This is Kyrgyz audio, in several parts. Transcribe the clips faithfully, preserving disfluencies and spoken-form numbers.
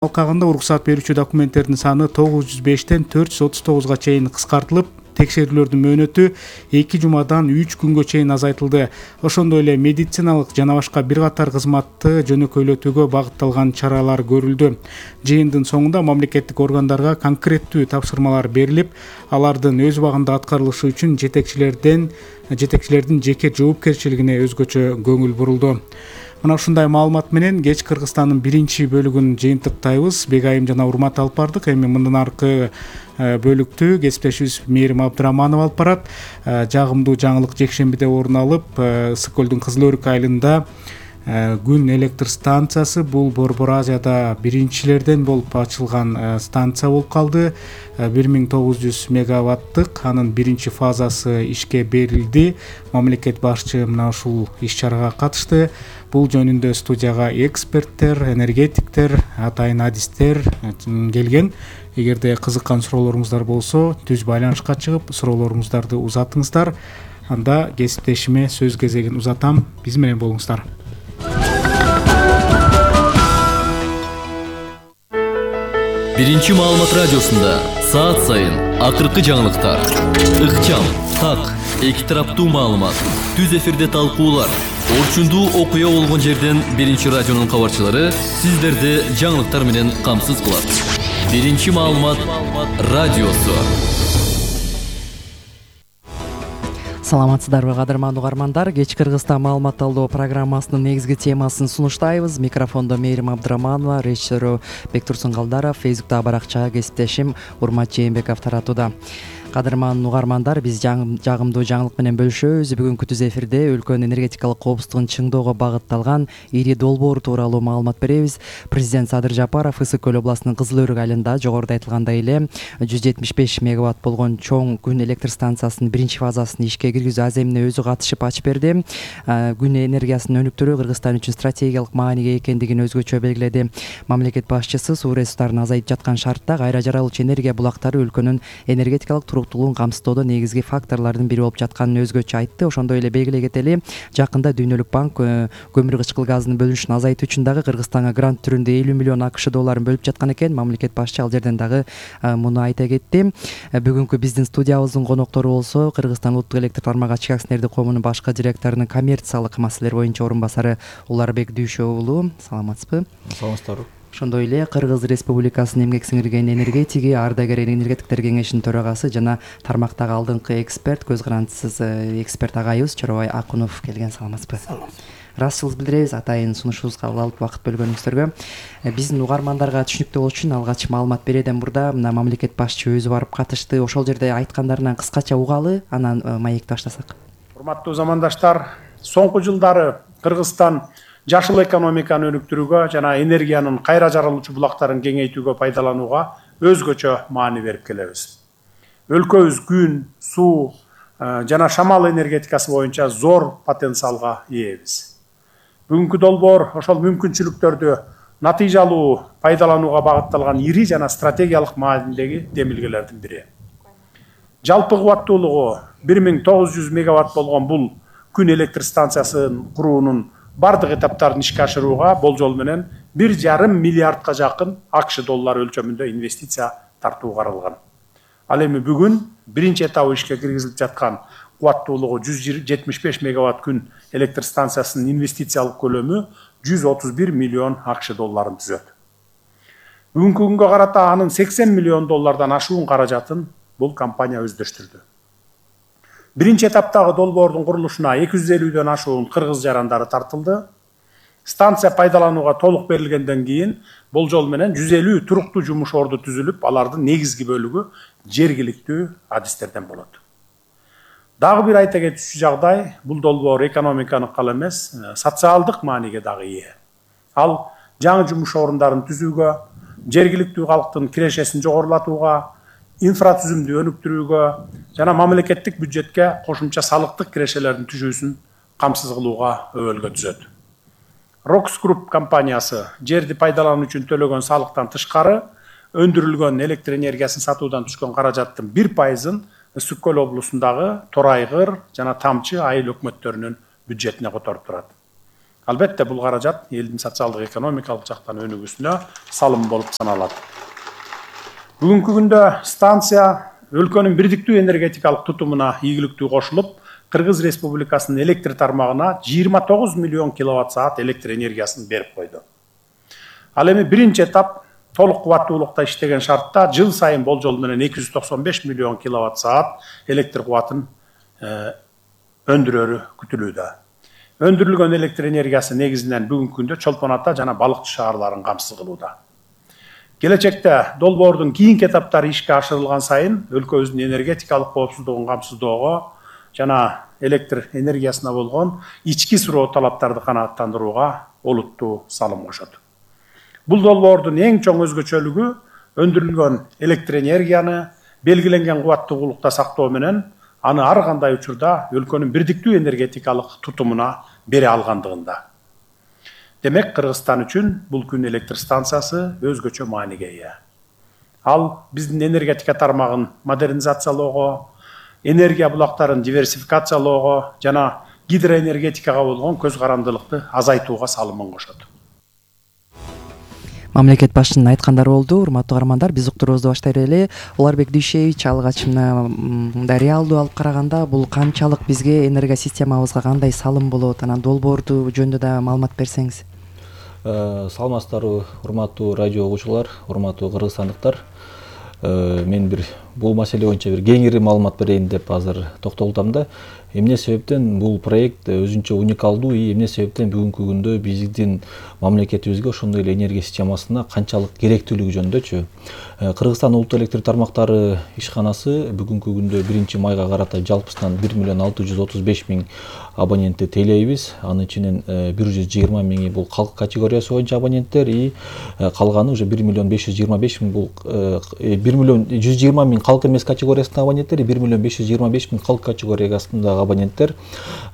алкагында уруксат берүүчү документтердин саны тогуз жүз бештен төрт жүз отуз тогузга чейин кыскартылып, текшерүүлөрдүн мөөнөтү эки жумадан үч күнгө чейин азайтылды. Ошондой эле медициналык жана башка бир катар кызматты жөнөкөйлөтүүгө багытталган чаралар көрүлдү. Жыйындын соңунда мамлекеттик органдарга конкреттүү тапшырмалар берилип, алардын өз убагында аткарылышы үчүн жетекчилерден жетекчилердин жеке жоопкерчилигине өзгөчө көңүл бурулду. Мына ушундай маалымат менен кеч Кыргызстандын биринчи бөлүгүн жыйынтыктайбыз. Бегайым жана Урмат алып бардык. Эми мындан аркы бөлүктү кесиптешибиз Мээрим Абдыраманова алып барат. Жагымдуу жаңылык жекшембиде орун алып, Ысык көлдүн Кызыл Өрүк айылында күн электр станциясы бул Борбор Азияда биринчилерден болуп ачылган станция болуп калды. бир миң тогуз жүз мегаваттык анын биринчи фазасы ишке берилди. Мамлекет башчы мына ушул иш-чарага катышты. Бул жөнүндө студияга эксперттер, энергетиктер, атайын адистер келген. Эгерде кызыккан суроолоруңуздар болсо, түз байланышка чыгып, суроолоруңуздарды узатыңыздар. Анда кесиптешиме сөз кезегин узатам. Биз менен болуңуздар. Биринчи маалымат радиосунда саат сайын акыркы жаңылыктар, ыкчам, так, эки тараптуу маалымат, түз эфирде талкуулар, орчундуу окуя болгон жерден биринчи радионун кабарчылары сиздерди жаңылыктар менен камсыз кылат. Биринчи маалымат радиосу. Саламатсыздарбы, кадырман угармандар. Кеч Кыргызстан маалымат талдоо программасынын негизги темасын сунуштайбыз. Микрофондо Мээрим Абдыраманова, режиссеру Бектурсун Калдаров, Фейсбуктагы баракча кесиптешим Урмат Жээнбеков таратууда. Кадырман угармандар, биз жагымдуу жаңылык менен бөлүшөбүз. Бүгүнкү түз эфирде өлкөнүн энергетикалык коопсуздугун чыңдоого багытталган ири долбоор тууралуу маалымат беребиз. Президент Садыр Жапаров Ысык көл областынын Кызыл Өрүк айылында жогоруда айтылгандай эле жүз жетимиш беш мегаватт болгон чоң күн электр станциясынын биринчи фазасын ишке киргизүү аземине өзү катышып ачып берди. Күн энергиясынын өнүктүрүү Кыргызстан үчүн стратегиялык мааниге экендигин өзгөчө белгиледи. Мамлекет башчысы суу ресурстарын азайып жаткан шартта кайра жаралуучу энергия булактары өлкөнүн энергетикалык туруктуулугун камсыздоодо негизги факторлордун бири болуп жатканын өзгөчө айтты. Ошондой эле белгилей кетели, жакында Дүйнөлүк банк көмүр кычкыл газынын бөлүнүшүн азайтуу үчүн дагы Кыргызстанга грант түрүндө элүү миллион акш долларын бөлүп жаткан экен. Мамлекет башчы ал жерден дагы муну айта кетти. Бүгүнкү биздин студиябыздын коноктору болсо Кыргызстан улуттук электр тармагы ачык акционердик коомунун башкы директорунун коммерциялык маселелер боюнча орун басары Уларбек Дүйшө уулу. Саламатсызбы? Саламатсыздарбы. Ошондой эле Кыргыз Республикасынын эмгек сиңирген энергетиги, ардагер энергетиктер кеңешинин төрагасы жана тармактагы алдыңкы эксперт, көз карандысыз эксперт агайыбыз Чоробай Акунов келген. Саламатсызбы? Ыраазычылык билдиребиз атайын сунушубузга алып убакыт бөлгөнүңүздөргө. Биздин угармандарга түшүнүктүү болуш үчүн алгач маалымат берүүдөн мурда мына мамлекет башчы өзү барып катышты. Ошол жерде айткандарынан кыскача угалы, анан маекти баштасак. Урматтуу замандаштар, соңку жылдары Кыргызстан жашыл экономиканы өнүктүрүүгө жана энергиянын кайра жаралуучу булактарын кеңейтүүгө пайдаланууга өзгөчө маани берип келебиз. Өлкөбүз күн, суу жана шамал энергетикасы боюнча зор потенциалга ээбиз. Бүгүнкү долбоор ошол мүмкүнчүлүктөрдү натыйжалуу пайдаланууга багытталган ири жана стратегиялык маанидеги демилгелердин бири. Жалпы кубаттуулугу бир миң тогуз жүз мегаватт болгон бул күн электр станциясын куруунун бардык этаптарын ишке ашырууга болжол менен бир жарым миллиардка жакын акш доллары өлчөмүндө инвестиция тартуу каралган. Ал эми бүгүн биринчи этабы ишке киргизилип жаткан кубаттуулугу жүз жетимиш беш мегаватт күн электр станциясынын инвестициялык көлөмү жүз отуз бир миллион акш долларын түзөт. Бүгүнкү күнгө карата анын сексен миллион доллардан ашуун каражатын бул компания өздөштүрдү. Биринчи этаптагы долбоордун курулушуна эки жүз элүүдөн ашуун кыргыз жарандары тартылды. Станция пайдаланууга толук берилгенден кийин болжол менен жүз элүү туруктуу жумуш орду түзүлүп, алардын негизги бөлүгү жергиликтүү адистерден болот. Дагы бир айта кетүүчү жагдай, бул долбоор экономиканык гана эмес, социалдык мааниге дагы ээ. Ал жаңы жумуш орундарын түзүүгө, жергиликтүү калктын кирешесин жогорулатууга, инфратүзүмдү өнүктүрүүгө жана мамлекеттик бюджетке кошумча салыктык кирешелердин түшүүсүн камсыз кылууга өбөлгө түзөт. Rox Group компаниясы жерди пайдалануу үчүн төлөгөн салыктан тышкары өндүрүлгөн электр энергиясын сатуудан түшкөн каражаттын бир пайызын Ысык көл облусундагы Торайгыр жана Тамчы айыл өкмөттөрүнүн бюджетине которуп турат. Албетте бул каражат элдин социалдык экономикалык жактан өнүгүүсүнө салым болуп саналат. Бүгүнкү күндө станция өлкөнүн бирдиктүү энергетикалык тутумуна ийгиликтүү кошулуп, Кыргыз Республикасынын электр тармагына жыйырма тогуз миллион киловатт саат электр энергиясын берип койду. Ал эми биринчи этап толук кубаттуулукта иштеген шартта жыл сайын болжол менен эки жүз токсон беш миллион киловатт саат электр кубатын өндүрөрү күтүлүүдө. Өндүрүлгөн электр энергиясы негизинен бүгүнкү күндө Чолпон Ата жана Балыкчы шаарларын камсыз кылууда. Келечекте долбоордун кийинки этаптары ишке ашырылган сайын өлкөбүздүн энергетикалык коопсуздугун камсыздоого жана электр энергиясына болгон ички суроо талаптарды канааттандырууга олуттуу салым кошот. Бул долбоордун эң чоң өзгөчөлүгү өндүрүлгөн электр энергияны белгиленген кубаттуулукта сактоо менен аны ар кандай учурда өлкөнүн бирдиктүү энергетикалык тутумуна бере алгандыгында. Демек, Кыргызстан үчүн бул күн электр станциясы өзгөчө мааниге ээ. Ал биздин энергетика тармагын модернизациялоого, энергия булактарын диверсификациялоого жана гидроэнергетикага болгон көз карандылыкты азайтууга салымын кошот. Мамлекет башчынын айткандары болду. Урматтуу каармандар, биз уктуруубузду баштай берели. Уларбек Дүйшевич алгач мына мындай реалдуу алып караганда бул канчалык бизге энергия системабызга кандай салым болот? Анан долбоорду жөнүндө да маалымат берсеңиз. Саламатсыздарбы, урматтуу радио угуучулар, урматтуу кыргызстандыктар. Мен бир бул маселе боюнча бир кеңири маалымат берейин деп азыр токтолдум да. Эмне себептен бул проект өзүнчө уникалдуу, эмне себептен бүгүнкү күндө биздин мамлекетибизге ошондой эле энергия системасына канчалык керектүүлүгү жөнүндөчү. Кыргызстан улуттук электр тармактары ишканасы бүгүнкү күндө биринчи майга карата жалпысынан бир миллион алты жүз отуз беш миң абонентти тейлейбиз. Анын ичинен бир жүз жыйырма миңи бул калк категориясы боюнча абоненттер, и калганы уже бир миллион беш жүз жыйырма беш миң бул бир миллион жүз жыйырма миң калк эмес категориясындагы абоненттер, бир миллион беш жүз жыйырма беш миң калк категориясындагы абоненттер.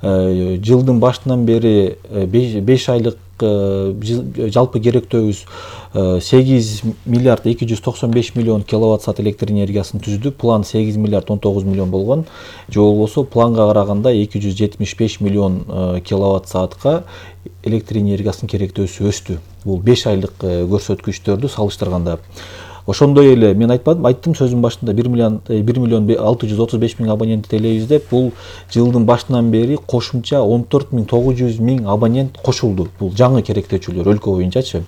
Жылдын башынан бери беш айлык жалпы керектөөбүз сегиз миллиард эки жүз токсон беш миллион киловатт саат электр энергиясын түздү. План сегиз миллиард он тогуз миллион болгон. Же болбосо планга караганда эки жүз жетимиш беш миллион киловатт саатка электр энергиясынын керектөөсү өстү. Бул беш айлык көрсөткүчтөрдү салыштырганда. Ошондой эле мен айтпадым, айттым сөзүмдүн башында бир миллион алты жүз отуз беш миң абонент тейлейбиз деп. Бул жылдын башынан бери кошумча он төрт миң тогуз жүз миң абонент кошулду. Бул жаңы керектөөчүлөр өлкө боюнчачы.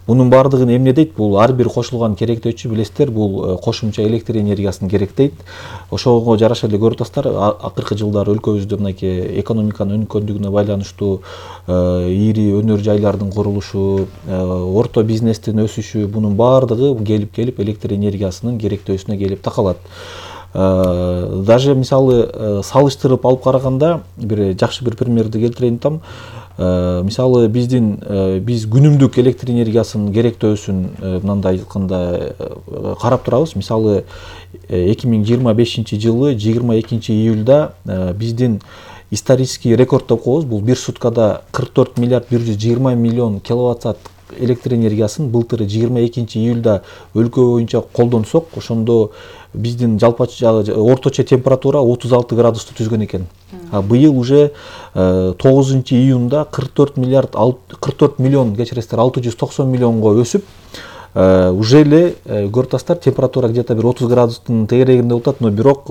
Бунун баардыгын эмне дейт? Бул ар бир кошулган керектөөчү билесиздер, бул кошумча электр энергиясын керектейт. Ошого жараша эле көрүп атасыздар, акыркы жылдары өлкөбүздө мынакей экономиканын өнүккөндүгүнө байланыштуу ири өнөр жайлардын курулушу, орто бизнестин өсүшү, бунун баардыгы келип-келип электр энергиясынын керектөөсүнө келип такалат. Даже мисалы салыштырып алып караганда бир жакшы бир примерди келтирейин атам. Мисалы биздин биз күнүмдүк электр энергиясынын керектөөсүн мындай айтканда карап турабыз. Мисалы эки миң жыйырма бешинчи жылы жыйырма экинчи июлда биздин исторический рекорд деп коебуз. Бул бир суткада кырк төрт миллиард бир жүз жыйырма миллион киловатт саат электр энергиясын былтыр жыйырма экинчи июлда өлкө боюнча колдонсок, ошондо биздин жалпы орточо температура отуз алты градусту түзгөн экен. А быйыл уже тогузунчу июнда кырк төрт миллиард кырк төрт миллион, кечиресиздер, алты жүз токсон миллионго өсүп, уже эле көрүп атасыздар, температура где-то бир отуз градустун тегерегинде болуп атат, но бирок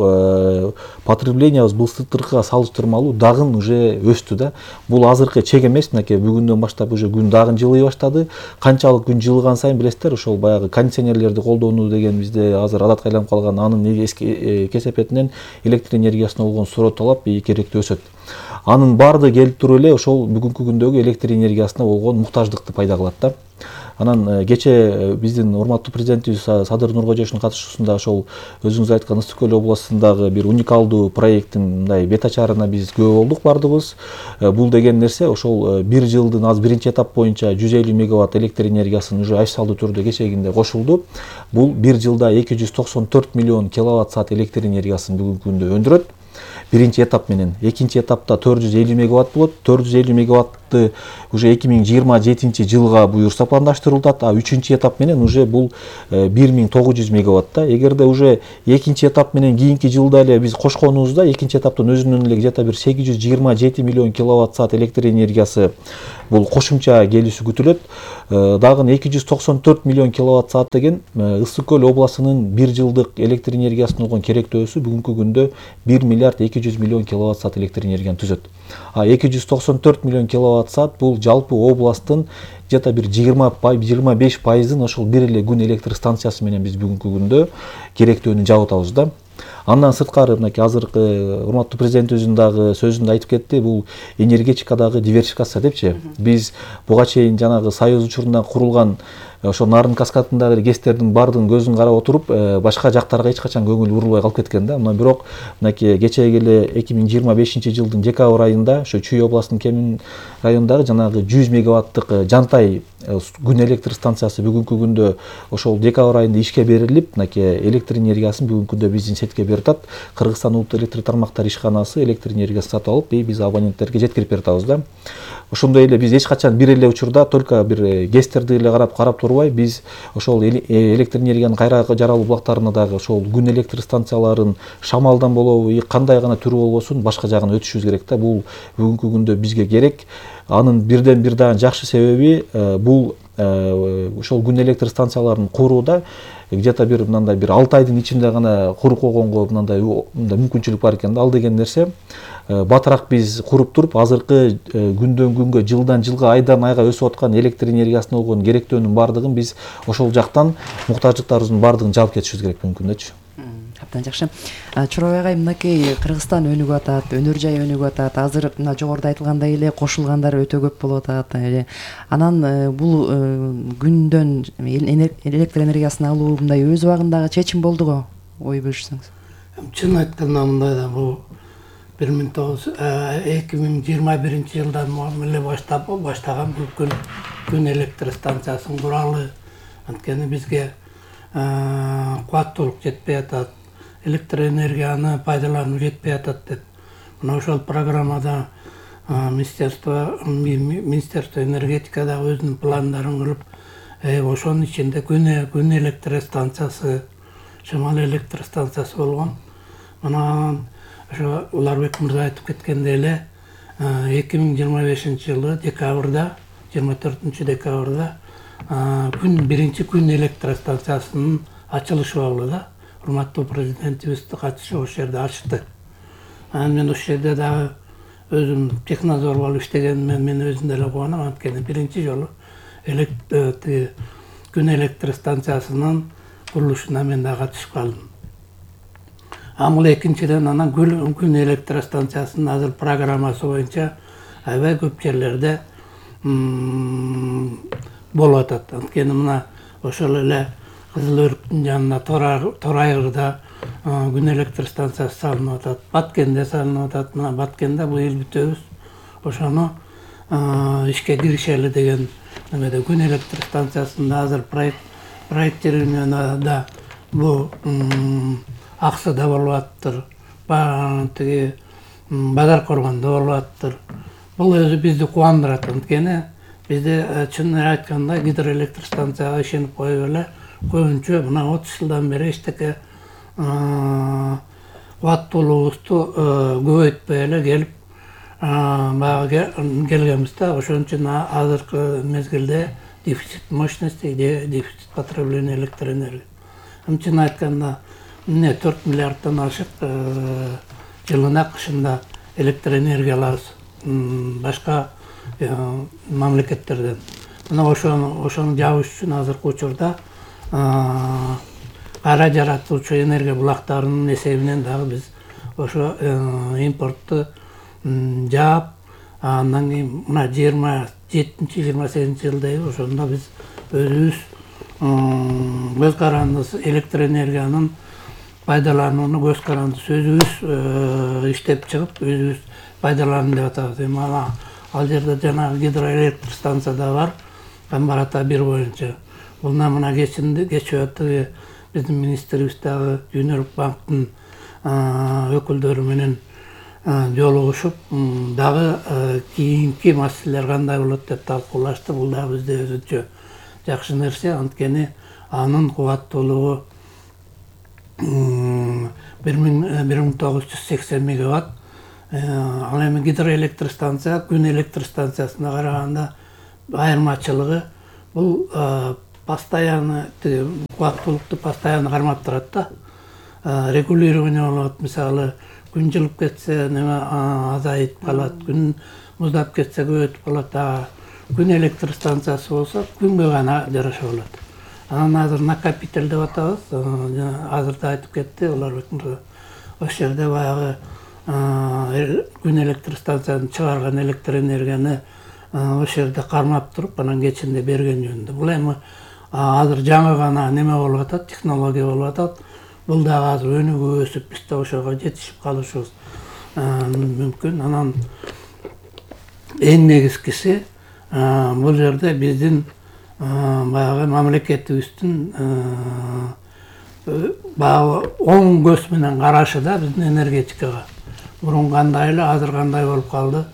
потреблениябыз былтыркыга салыштырмалуу дагы уже өстү да. Бул азыркы чек эмес, мынакей бүгүндөн баштап уже күн дагы жылый баштады. Канчалык күн жылыган сайын билесиздер, ошол баягы кондиционерлерди колдонуу деген бизде азыр адатка айланып калган, анын кесепетинен электр энергиясына болгон суроо талап керектүү өсөт. Анын баардыгы келип туруп эле ошол бүгүнкү күндөгү электр энергиясына болгон муктаждыкты пайда кылат да. Анан кече биздин урматтуу президентибиз Садыр Нуркожоевичтин катышуусунда ошол өзүңүз айткан Ысык көл областындагы бир уникалдуу проекттин мындай бет ачарына биз күбө болдук бардыгыбыз. Бул деген нерсе ошол бир жылдын аз биринчи этап боюнча жүз элүү мегаватт электр энергиясын уже официалдуу түрдө кечегинде кошулду. Бул бир жылда эки жүз токсон төрт миллион киловатт саат электр энергиясын бүгүнкү күндө өндүрөт. Биринчи этап менен. Экинчи этапта төрт жүз элүү мегаватт болот. төрт жүз элүү мегаватты уже эки миң жыйырма жетинчи жылга буюрса пландаштырылат. А үчүнчү этап менен уже бул бир миң тогуз жүз мегаватта. Эгерде уже экинчи этап менен кийинки жылда эле биз кошконубузда экинчи этаптын өзүнөн эле где-то бир сегиз жүз жыйырма жети миллион киловатт саат электр энергиясы бул кошумча келүүсү күтүлөт. Дагы эки жүз токсон төрт миллион киловатт саат деген Ысык көл областынын бир жылдык электр энергиясына болгон керектөөсү бүгүнкү күндө бир миллиард эки жүз миллион киловатт саат электр энергияны түзөт. А эки жүз токсон төрт миллион киловатт саат бул жалпы областтын где-то бир жыйырма беш пайызын ошол бир эле күн электр станциясы менен биз бүгүнкү күндө керектөөнү жабып атабыз да. Андан сырткары мынакей азыркы урматтуу президентибиздин дагы сөзүндө айтып кетти, бул энергетикадагы диверсификация депчи. Биз буга чейин жанагы Союз учурунда курулган ошо Нарын каскадындагы гэстердин баардыгын көзүн карап отуруп, башка жактарга эч качан көңүл бурулбай калып кеткен да. Мына бирок мынакей кечеги эле эки миң жыйырма бешинчи жылдын декабрь айында ошо Чүй областынын Кемин районундагы жанагы жүз мегаваттык Жантай күн электр станциясы бүгүнкү күндө ошол декабрь айында ишке берилип, мынакей электр энергиясын бүгүнкү күндө биздин сетке берип атат. Кыргызстан улуттук электр тармактар ишканасы электр энергиясын сатып алып, биз абоненттерге жеткирип берип атабыз да. Ошондой эле биз эч качан бир эле учурда только бир гэстерди эле карап карап турбай, биз ошол электр энергиянын кайра жаралуу булактарына дагы ошол күн электр станцияларын шамалдан болобу, кандай гана түрү болбосун башка жагына өтүшүбүз керек да. Бул бүгүнкү күндө бизге керек. Анын бирден бир дагы жакшы себеби бул ошол күн электр станцияларын курууда где-то бир мындай бир алты айдын ичинде гана куруп койгонго мындай мүмкүнчүлүк бар экен да. Ал деген нерсе батыраак биз куруп туруп, азыркы күндөн күнгө, жылдан жылга, айдан айга өсүп аткан электр энергиясына болгон керектөөнүн баардыгын биз ошол жактан муктаждыктарыбыздын баардыгын жаап кетишибиз керек бүгүнкү күндөчү. Абдан жакшы. Чорой агай, мынакей Кыргызстан өнүгүп атат, өнөр жай өнүгүп атат. Азыр мына жогоруда айтылгандай эле кошулгандар өтө көп болуп атат. Анан бул күндөн электр энергиясын алуу мындай өз убагындагы чечим болду го, ой бөлүшсөңүз. Чын айтканда мындай да, бул эки миң жыйырма биринчи жылдан эле баштап баштаган бул күн электр станциясын куралы. Анткени бизге кубаттуулук жетпей атат, электр энергияны пайдалануу жетпей атат деп. Мына ошол программада министерство министерство энергетика да өзүнүн пландарын кылып, ошонун ичинде күн электр станциясы, шамал электр станциясы болгон. Мына ошо Уларбек мырза айтып кеткендей эле эки миң жыйырма бешинчи жылы декабрда, жыйырма төртүнчү декабрда күн биринчи күн электр станциясынын ачылышы болду да. Урматтуу президентибиз катышып ошол жерде ачты. Анан мен ошол жерде дагы өзүм технадзор болуп иштегенимен мен өзүм деле кубанам, анткени биринчи жолу күн электр станциясынын курулушуна мен да катышып калдым. Амыл экинчиден анан күн электр станциясынын азыр программасы боюнча аябай көп жерлерде болуп атат. Анткени мына ошол эле Кызыл Өрүктүн жанына Торайгырда күн электр станциясы салынып атат, Баткенде салынып атат. Мына Баткенде быйыл бүтөбүз. Ошону ишке киришели деген немеде күн электр станциясында азыр проект проектированияда бул Аксыда болуп аттыр, тиги Бадар Коргондо болуп аттыр. Бул өзү бизди кубандырат. Анткени бизде чын айтканда гидроэлектр станцияга ишенип коюп эле көбүнчө мына отуз жылдан бери эчтеке кубаттуулугубузду көбөйтпөй эле келип баягы келгенбиз да. Ошон үчүн азыркы мезгилде дефицит мощности, дефицит потребления электр энергии. Чын айтканда эмне төрт миллиарддан ашык жылына кышында электр энергия алабыз башка мамлекеттерден. Мына ошону ошону жабыш үчүн азыркы учурда кайра жаратуучу энергия булактарынын эсебинен дагы биз ошо импортту жаап, андан кийин мына жыйырма жетинчи жыйырма сегизинчи жылдайбы ошондо биз өзүбүз көз карандысыз электр энергиянын пайдаланууну көз карандысыз өзүбүз иштеп чыгып, өзүбүз пайдаланып деп атабыз. Эми ал жерде жанагы гидроэлектр станция да бар, Камбар ата бир боюнча. Бул мына кечээ биздин министрибиз дагы Дүйнөлүк банктын өкүлдөрү менен жолугушуп, дагы кийинки маселелер кандай болот деп талкуулашты. Бул дагы бизде өзүнчө жакшы нерсе, анткени анын кубаттуулугу бир миң тогуз жүз сексен мегаватт. Ал эми гидроэлектр станция күн электр станциясына караганда айырмачылыгы бул постоянно кубаттуулукту постоянно кармап турат да. Регулирование болот, мисалы күн жылып кетсе неме азайып калат, күн муздап кетсе көбөйтүп калат. Күн электр станциясы болсо күнгө гана жараша болот. Анан азыр накопитель деп атабыз, азыр да айтып кетти, улар ошол жерде баягы күн электр станциясын чыгарган электр энергияны ошол жерде кармап туруп, анан кечинде берген жөнүндө. Бул эми азыр жаңы гана неме болуп атат, технология болуп атат. Бул дагы азыр өнүгүп өсүп, биз да ошого жетишип калышыбыз мүмкүн. Анан эң негизгиси бул жерде биздин баягы мамлекетибиздин баягы оң көз менен карашы да биздин энергетикага. Мурун кандай эле, азыр кандай болуп калды,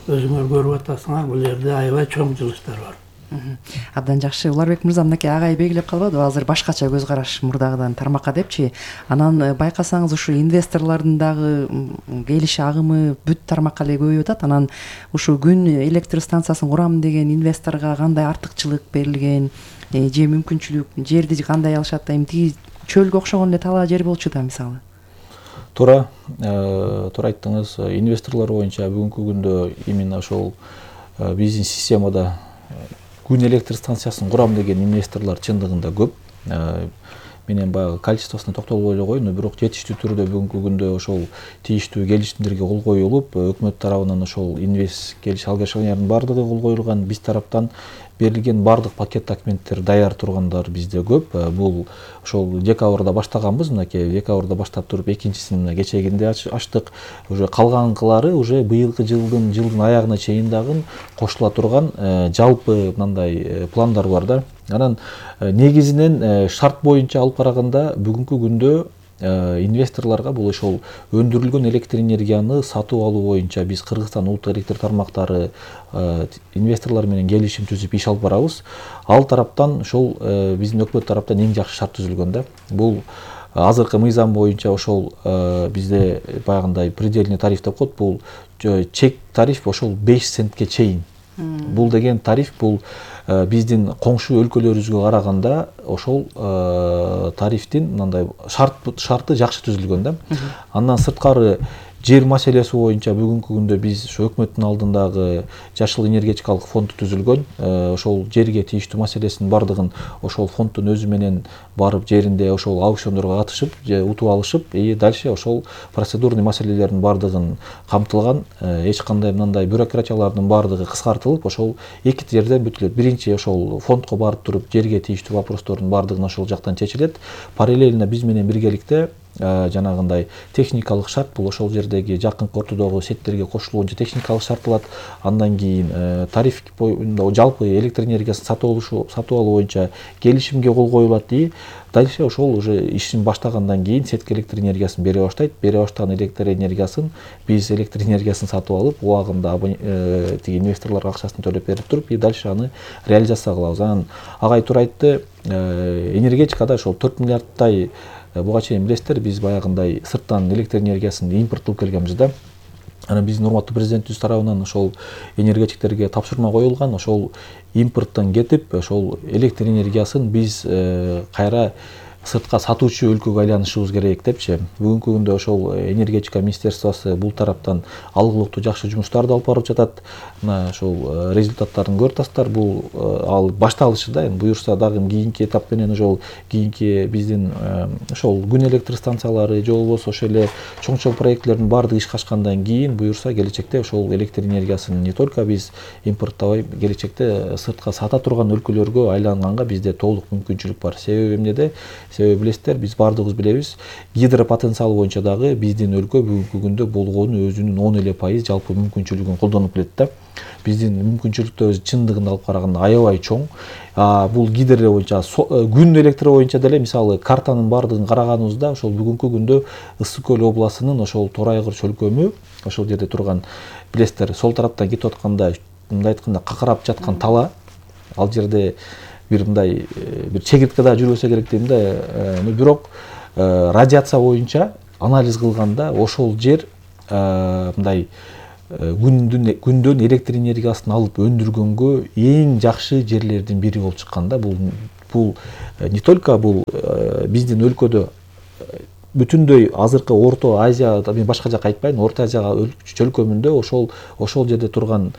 өзүңөр көрүп атасыңар, бул жерде аябай чоң жылыштар бар. Абдан жакшы. Уларбек мырза, мынакей агай белгилеп калбадыбы, азыр башкача көз караш мурдагыдан тармакка депчи. Анан байкасаңыз ушу инвесторлордун дагы келиш агымы бүт тармакка эле көбөйүп атат. Анан ушу күн электр станциясын курам деген инвесторго кандай артыкчылык берилген, же мүмкүнчүлүк, жерди кандай алышат да, эми тиги чөлгө окшогон эле талаа жер болчу да мисалы. Туура, туура айттыңыз. Инвесторлор боюнча бүгүнкү күндө именно ошол биздин системада күн электр станциясын курам деген инвесторлор чындыгында көп. Менен баягы количествосуна токтолбой эле коеюн, бирок жетиштүү түрдө бүгүнкү күндө ошол тийиштүү келишимдерге кол коюлуп, өкмөт тарабынан ошол инвест келиш алгачылардын бардыгы кол коюлган, биз тараптан берилген бардык пакет документтер даяр тургандар бизде көп. Бул ошол декабрда баштаганбыз, мынакей декабрда баштап туруп экинчисин кечегинде ачтык. Уже калганкылары уже быйылкы жылдын жылдын аягына чейин дагы кошула турган жалпы мындай пландар бар да. Анан негизинен шарт боюнча алып караганда бүгүнкү күндө инвесторлорго бул ошол өндүрүлгөн электр энергияны сатып алуу боюнча биз Кыргызстан улуттук электр тармактары инвесторлор менен келишим түзүп иш алып барабыз. Ал тараптан ошол биздин өкмөт тараптан эң жакшы шарт түзүлгөн да. Бул азыркы мыйзам боюнча ошол бизде баягындай предельный тариф деп коет. Бул чек тариф ошол беш центке чейин. Бул деген тариф бул биздин коңшу өлкөлөрүбүзгө караганда ошол тарифтин мындай шарт шарты жакшы түзүлгөн да. Андан сырткары жер маселеси боюнча бүгүнкү күндө биз ошо өкмөттүн алдындагы жашыл энергетикалык фонд түзүлгөн. Ошол жерге тийиштүү маселесинин бардыгын ошол фонддун өзү менен барып жеринде ошол аукциондорго катышып, утуп алышып, и дальше ошол процедурный маселелердин бардыгын камтылган. Эч кандай мындай бюрократиялардын бардыгы кыскартылып, ошол эки жерден бүтүлөт. Биринчи ошол фондко барып туруп жерге тийиштүү вопростордун бардыгын ошол жактан чечилет. Параллельно биз менен биргеликте жанагындай техникалык шарт, бул ошол жердеги жакынкы ортодогу сеттерге кошулуунча техникалык шарт болот. Андан кийин тариф боюнча жалпы электр энергиясын сатып алуу сатып алуу боюнча келишимге кол коюлат. И дальше ошол уже ишин баштагандан кийин сетке электр энергиясын бере баштайт. Бере баштаган электр энергиясын биз электр энергиясын сатып алып, убагында тиги инвесторлорго акчасын төлөп берип туруп, и дальше аны реализация кылабыз. Анан агай туура айтты, энергетикада ошол төрт миллиардтай буга чейин билесиздер, биз баягындай сырттан электр энергиясын импорт кылып келгенбиз да. Анан биздин урматтуу президентибиз тарабынан ошол энергетиктерге тапшырма коюлган, ошол импорттон кетип, ошол электр энергиясын биз кайра сыртка сатуучу өлкөгө айланышыбыз керек депчи. Бүгүнкү күндө ошол энергетика министерствосу бул тараптан алгылыктуу жакшы жумуштарды алып барып жатат. Мына ошол результаттарын көрүп атасыздар. Бул ал башталышы да. Эми буюрса дагы кийинки этап менен ошол кийинки биздин ошол күн электр станциялары же болбосо ошол эле чоң-чоң проектлердин баардыгы ишке ашкандан кийин буюрса келечекте ошол электр энергиясын не только биз импорттабай, келечекте сыртка сата турган өлкөлөргө айланганга бизде толук мүмкүнчүлүк бар. Себеби эмнеде? Себеби билесиздер, биз баардыгыбыз билебиз, гидропотенциал боюнча дагы биздин өлкө бүгүнкү күндө болгону өзүнүн он эле пайыз жалпы мүмкүнчүлүгүн колдонуп келет да. Биздин мүмкүнчүлүктөрүбүз чындыгында алып караганда аябай чоң. Бул гидро боюнча, күн электр боюнча деле мисалы картанын баардыгын караганыбызда ошол бүгүнкү күндө Ысык көл областынын ошол Торайгыр чөлкөмү, ошол жерде турган, билесиздер, сол тараптан кетип атканда, мындай айтканда какырап жаткан тала, ал жерде бир мындай бир чегиртке да жүрбөсө керек дейм да. Бирок радиация боюнча анализ кылганда ошол жер мындай күндүн күндөн электр энергиясын алып өндүргөнгө эң жакшы жерлердин бири болуп чыккан да. Бул бул не только бул биздин өлкөдө бүтүндөй азыркы Орто Азия, мен башка жакка айтпайм, Орто Азияга чөлкөмүндө ошол ошол жерде турган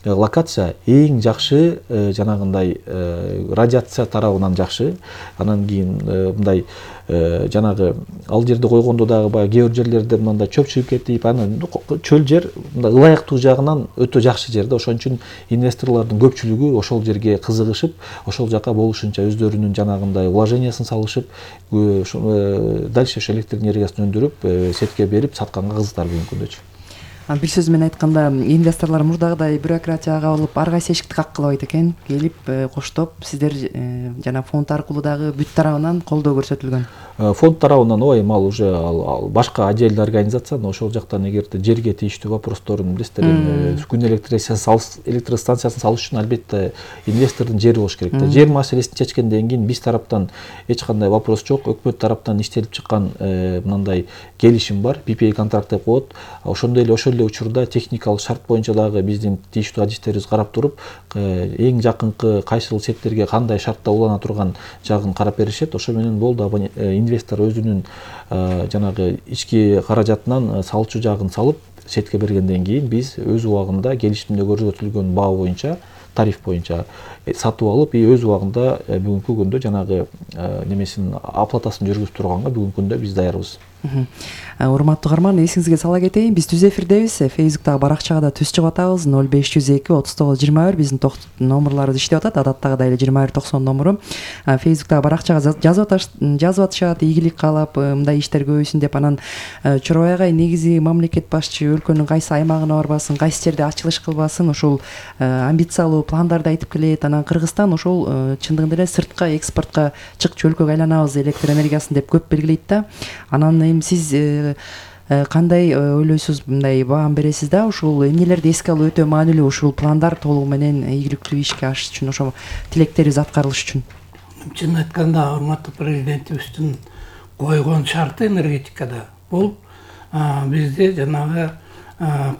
локация эң жакшы жанагындай радиация тарабынан жакшы. Анан кийин мындай жанагы ал жерде койгондо дагы баягы кээ бир жерлерде мындай чөп чыгып кетип, анан чөл жер мындай ылайыктуу жагынан өтө жакшы жер да. Ошон үчүн инвесторлордун көпчүлүгү ошол жерге кызыгышып, ошол жака болушунча өздөрүнүн жанагындай вложениясын салышып, дальше ошо электр энергиясын өндүрүп, сетке берип сатканга кызыктар бүгүнкү күндөчү. Бир сөз менен айтканда, инвесторлор мурдагыдай бюрократияга болуп ар кайсы эшикти каккылабайт экен. Келип коштоп, сиздер жана фонд аркылуу дагы бүт тарабынан колдоо көрсөтүлгөн. Фонд тарабынан ооба, эми ал уже ал башка отдельный организация, но ошол жактан эгерде жерге тийиштүү вопросторун билесиздер, күн электростанциясын салыш үчүн албетте инвестордун жери болуш керек да. Жер маселесин чечкенден кийин биз тараптан эч кандай вопрос жок. Өкмөт тараптан иштелип чыккан мындай келишим бар, пи пи эй контракт деп коет. Ошондой эле ошол эле учурда техникалык шарт боюнча дагы биздин тийиштүү адистерибиз карап туруп, эң жакынкы кайсыл сеттерге кандай шартта улана турган жагын карап беришет. Ошо менен болду, инвестор өзүнүн жанагы ички каражатынан салчу жагын салып сетке бергенден кийин биз өз убагында келишимде көрсөтүлгөн баа боюнча, тариф боюнча сатып алып, өз убагында бүгүнкү күндө жанагы немесин оплатасын жүргүзүп турганга бүгүнкү күндө биз даярбыз. Урматтуу угарман, эсиңизге сала кетейин, биз түз эфирдебиз. Фейсбуктагы баракчага да түз чыгып атабыз. ноль беш жүз эки отуз тогуз жыйырма бир биздин номерларыбыз иштеп атат. Адаттагыдай эле жыйырма бир токсон номеру. Фейсбуктагы баракчага жазып жазып атышат, ийгилик каалап, мындай иштер көбөйсүн деп. Анан Чорой агай, негизи мамлекет башчы өлкөнүн кайсы аймагына барбасын, кайсы жерде ачылыш кылбасын, ошол амбициялуу пландарды айтып келет. Анан Кыргызстан ошол чындыгында эле сыртка экспортко чыкчу өлкөгө айланабыз электр энергиясын деп көп белгилейт да. Анан сиз кандай ойлойсуз, мындай баам бересиз да? Ушул эмнелерди эске алуу өтө маанилүү, ушул пландар толугу менен ийгиликтүү ишке ашыш үчүн, ошо тилектерибиз аткарылыш үчүн. Чын айтканда, урматтуу президентибиздин койгон шарты энергетикада бул бизде жанагы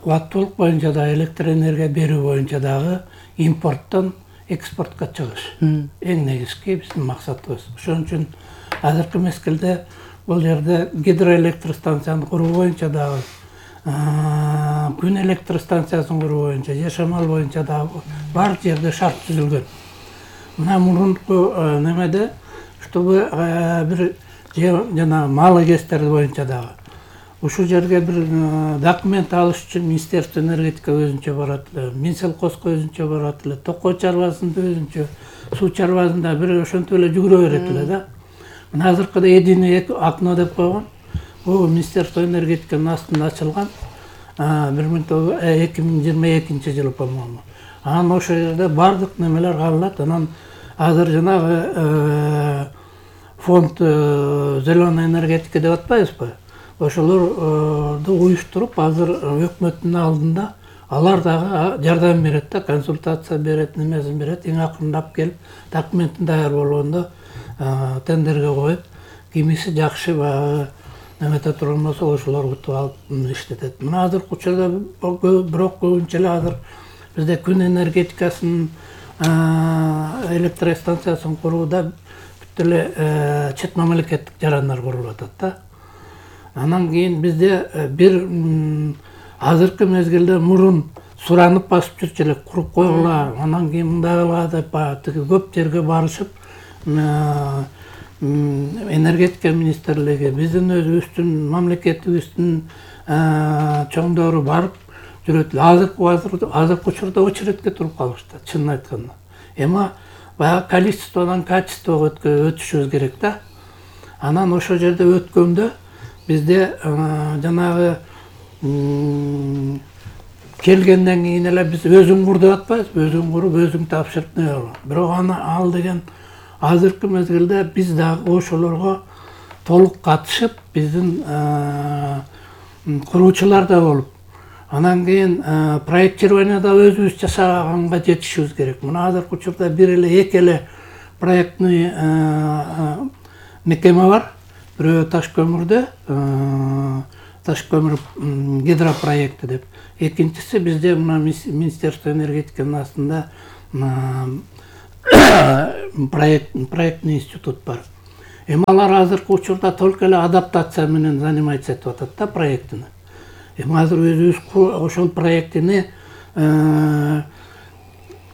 кубаттуулук боюнча да, электр энергия берүү боюнча дагы импорттон экспортко чыгыш. Эң негизги биздин максатыбыз. Ошон үчүн азыркы мезгилде бул жерде гидроэлектростанцияны куруу боюнча дагы, күн электростанциясын куруу боюнча, же шамал боюнча дагы бар жерде шарт түзүлгөн. Мына мурунку немеде, чтобы бир жана малы кестерди боюнча дагы ушул жерге бир документ алыш үчүн Министерство энергетика өзүнчө барат эле, Минселхозго өзүнчө барат эле, токой чарбасында өзүнчө, суу чарбасында бир ошентип эле жүгүрө берет эле да. Мына азыркыда единый окно деп койгон. Бул Министерство энергетиканын астында ачылган эки миң жыйырма экинчи жылы, по-моему. Анан ошол жерде бардык немелер кабылат. Анан азыр жанагы фонд зеленая энергетика деп атпайбызбы? Ошолорду уюштуруп, азыр өкмөттүн алдында алар дагы жардам берет да, консультация берет, немесин берет. Эң акырындап келип, документин даяр болгондо тендерге коюп, кимиси жакшы баягы немете турган болсо ошолор утуп алып иштетет. Мына азыркы учурда бирок көбүнчө эле азыр бизде күн энергетикасын, электростанциясын курууда бүт эле чет мамлекеттик жарандар курулуп атат да. Анан кийин бизде бир азыркы мезгилде мурун суранып басып жүрчү элек, куруп койгула, анан кийин мындай кылгыла деп тиги көп жерге барышып, энергетика министрлиги, биздин өзүбүздүн мамлекетибиздин чоңдору барып жүрөт эле. Азыркы азыркы учурда очередке туруп калышты, чынын айтканда. Эми баягы количестводон качествого өтүшүбүз керек да. Анан ошол жерде өткөндө бизде жанагы келгенден кийин эле биз өзүң кур деп атпайбызбы, өзүң куруп, өзүң тапшырып не болот. Бирок аны ал деген азыркы мезгилде биз дагы ошолорго толук катышып, биздин куруучулар да болуп, анан кийин проектирование да өзүбүз жашаганга жетишибиз керек. Мына азыркы учурда бир эле эки эле проектный мекеме бар. Бирөө Таш көмүрдө, таш көмүр гидропроекти деп. Экинчиси бизде мына Министерство энергетиканын астында проект проектный институт бар. Эми алар азыркы учурда только эле адаптация менен заниматься этип атат да проектини. Эми азыр өзүбүз ошол проектини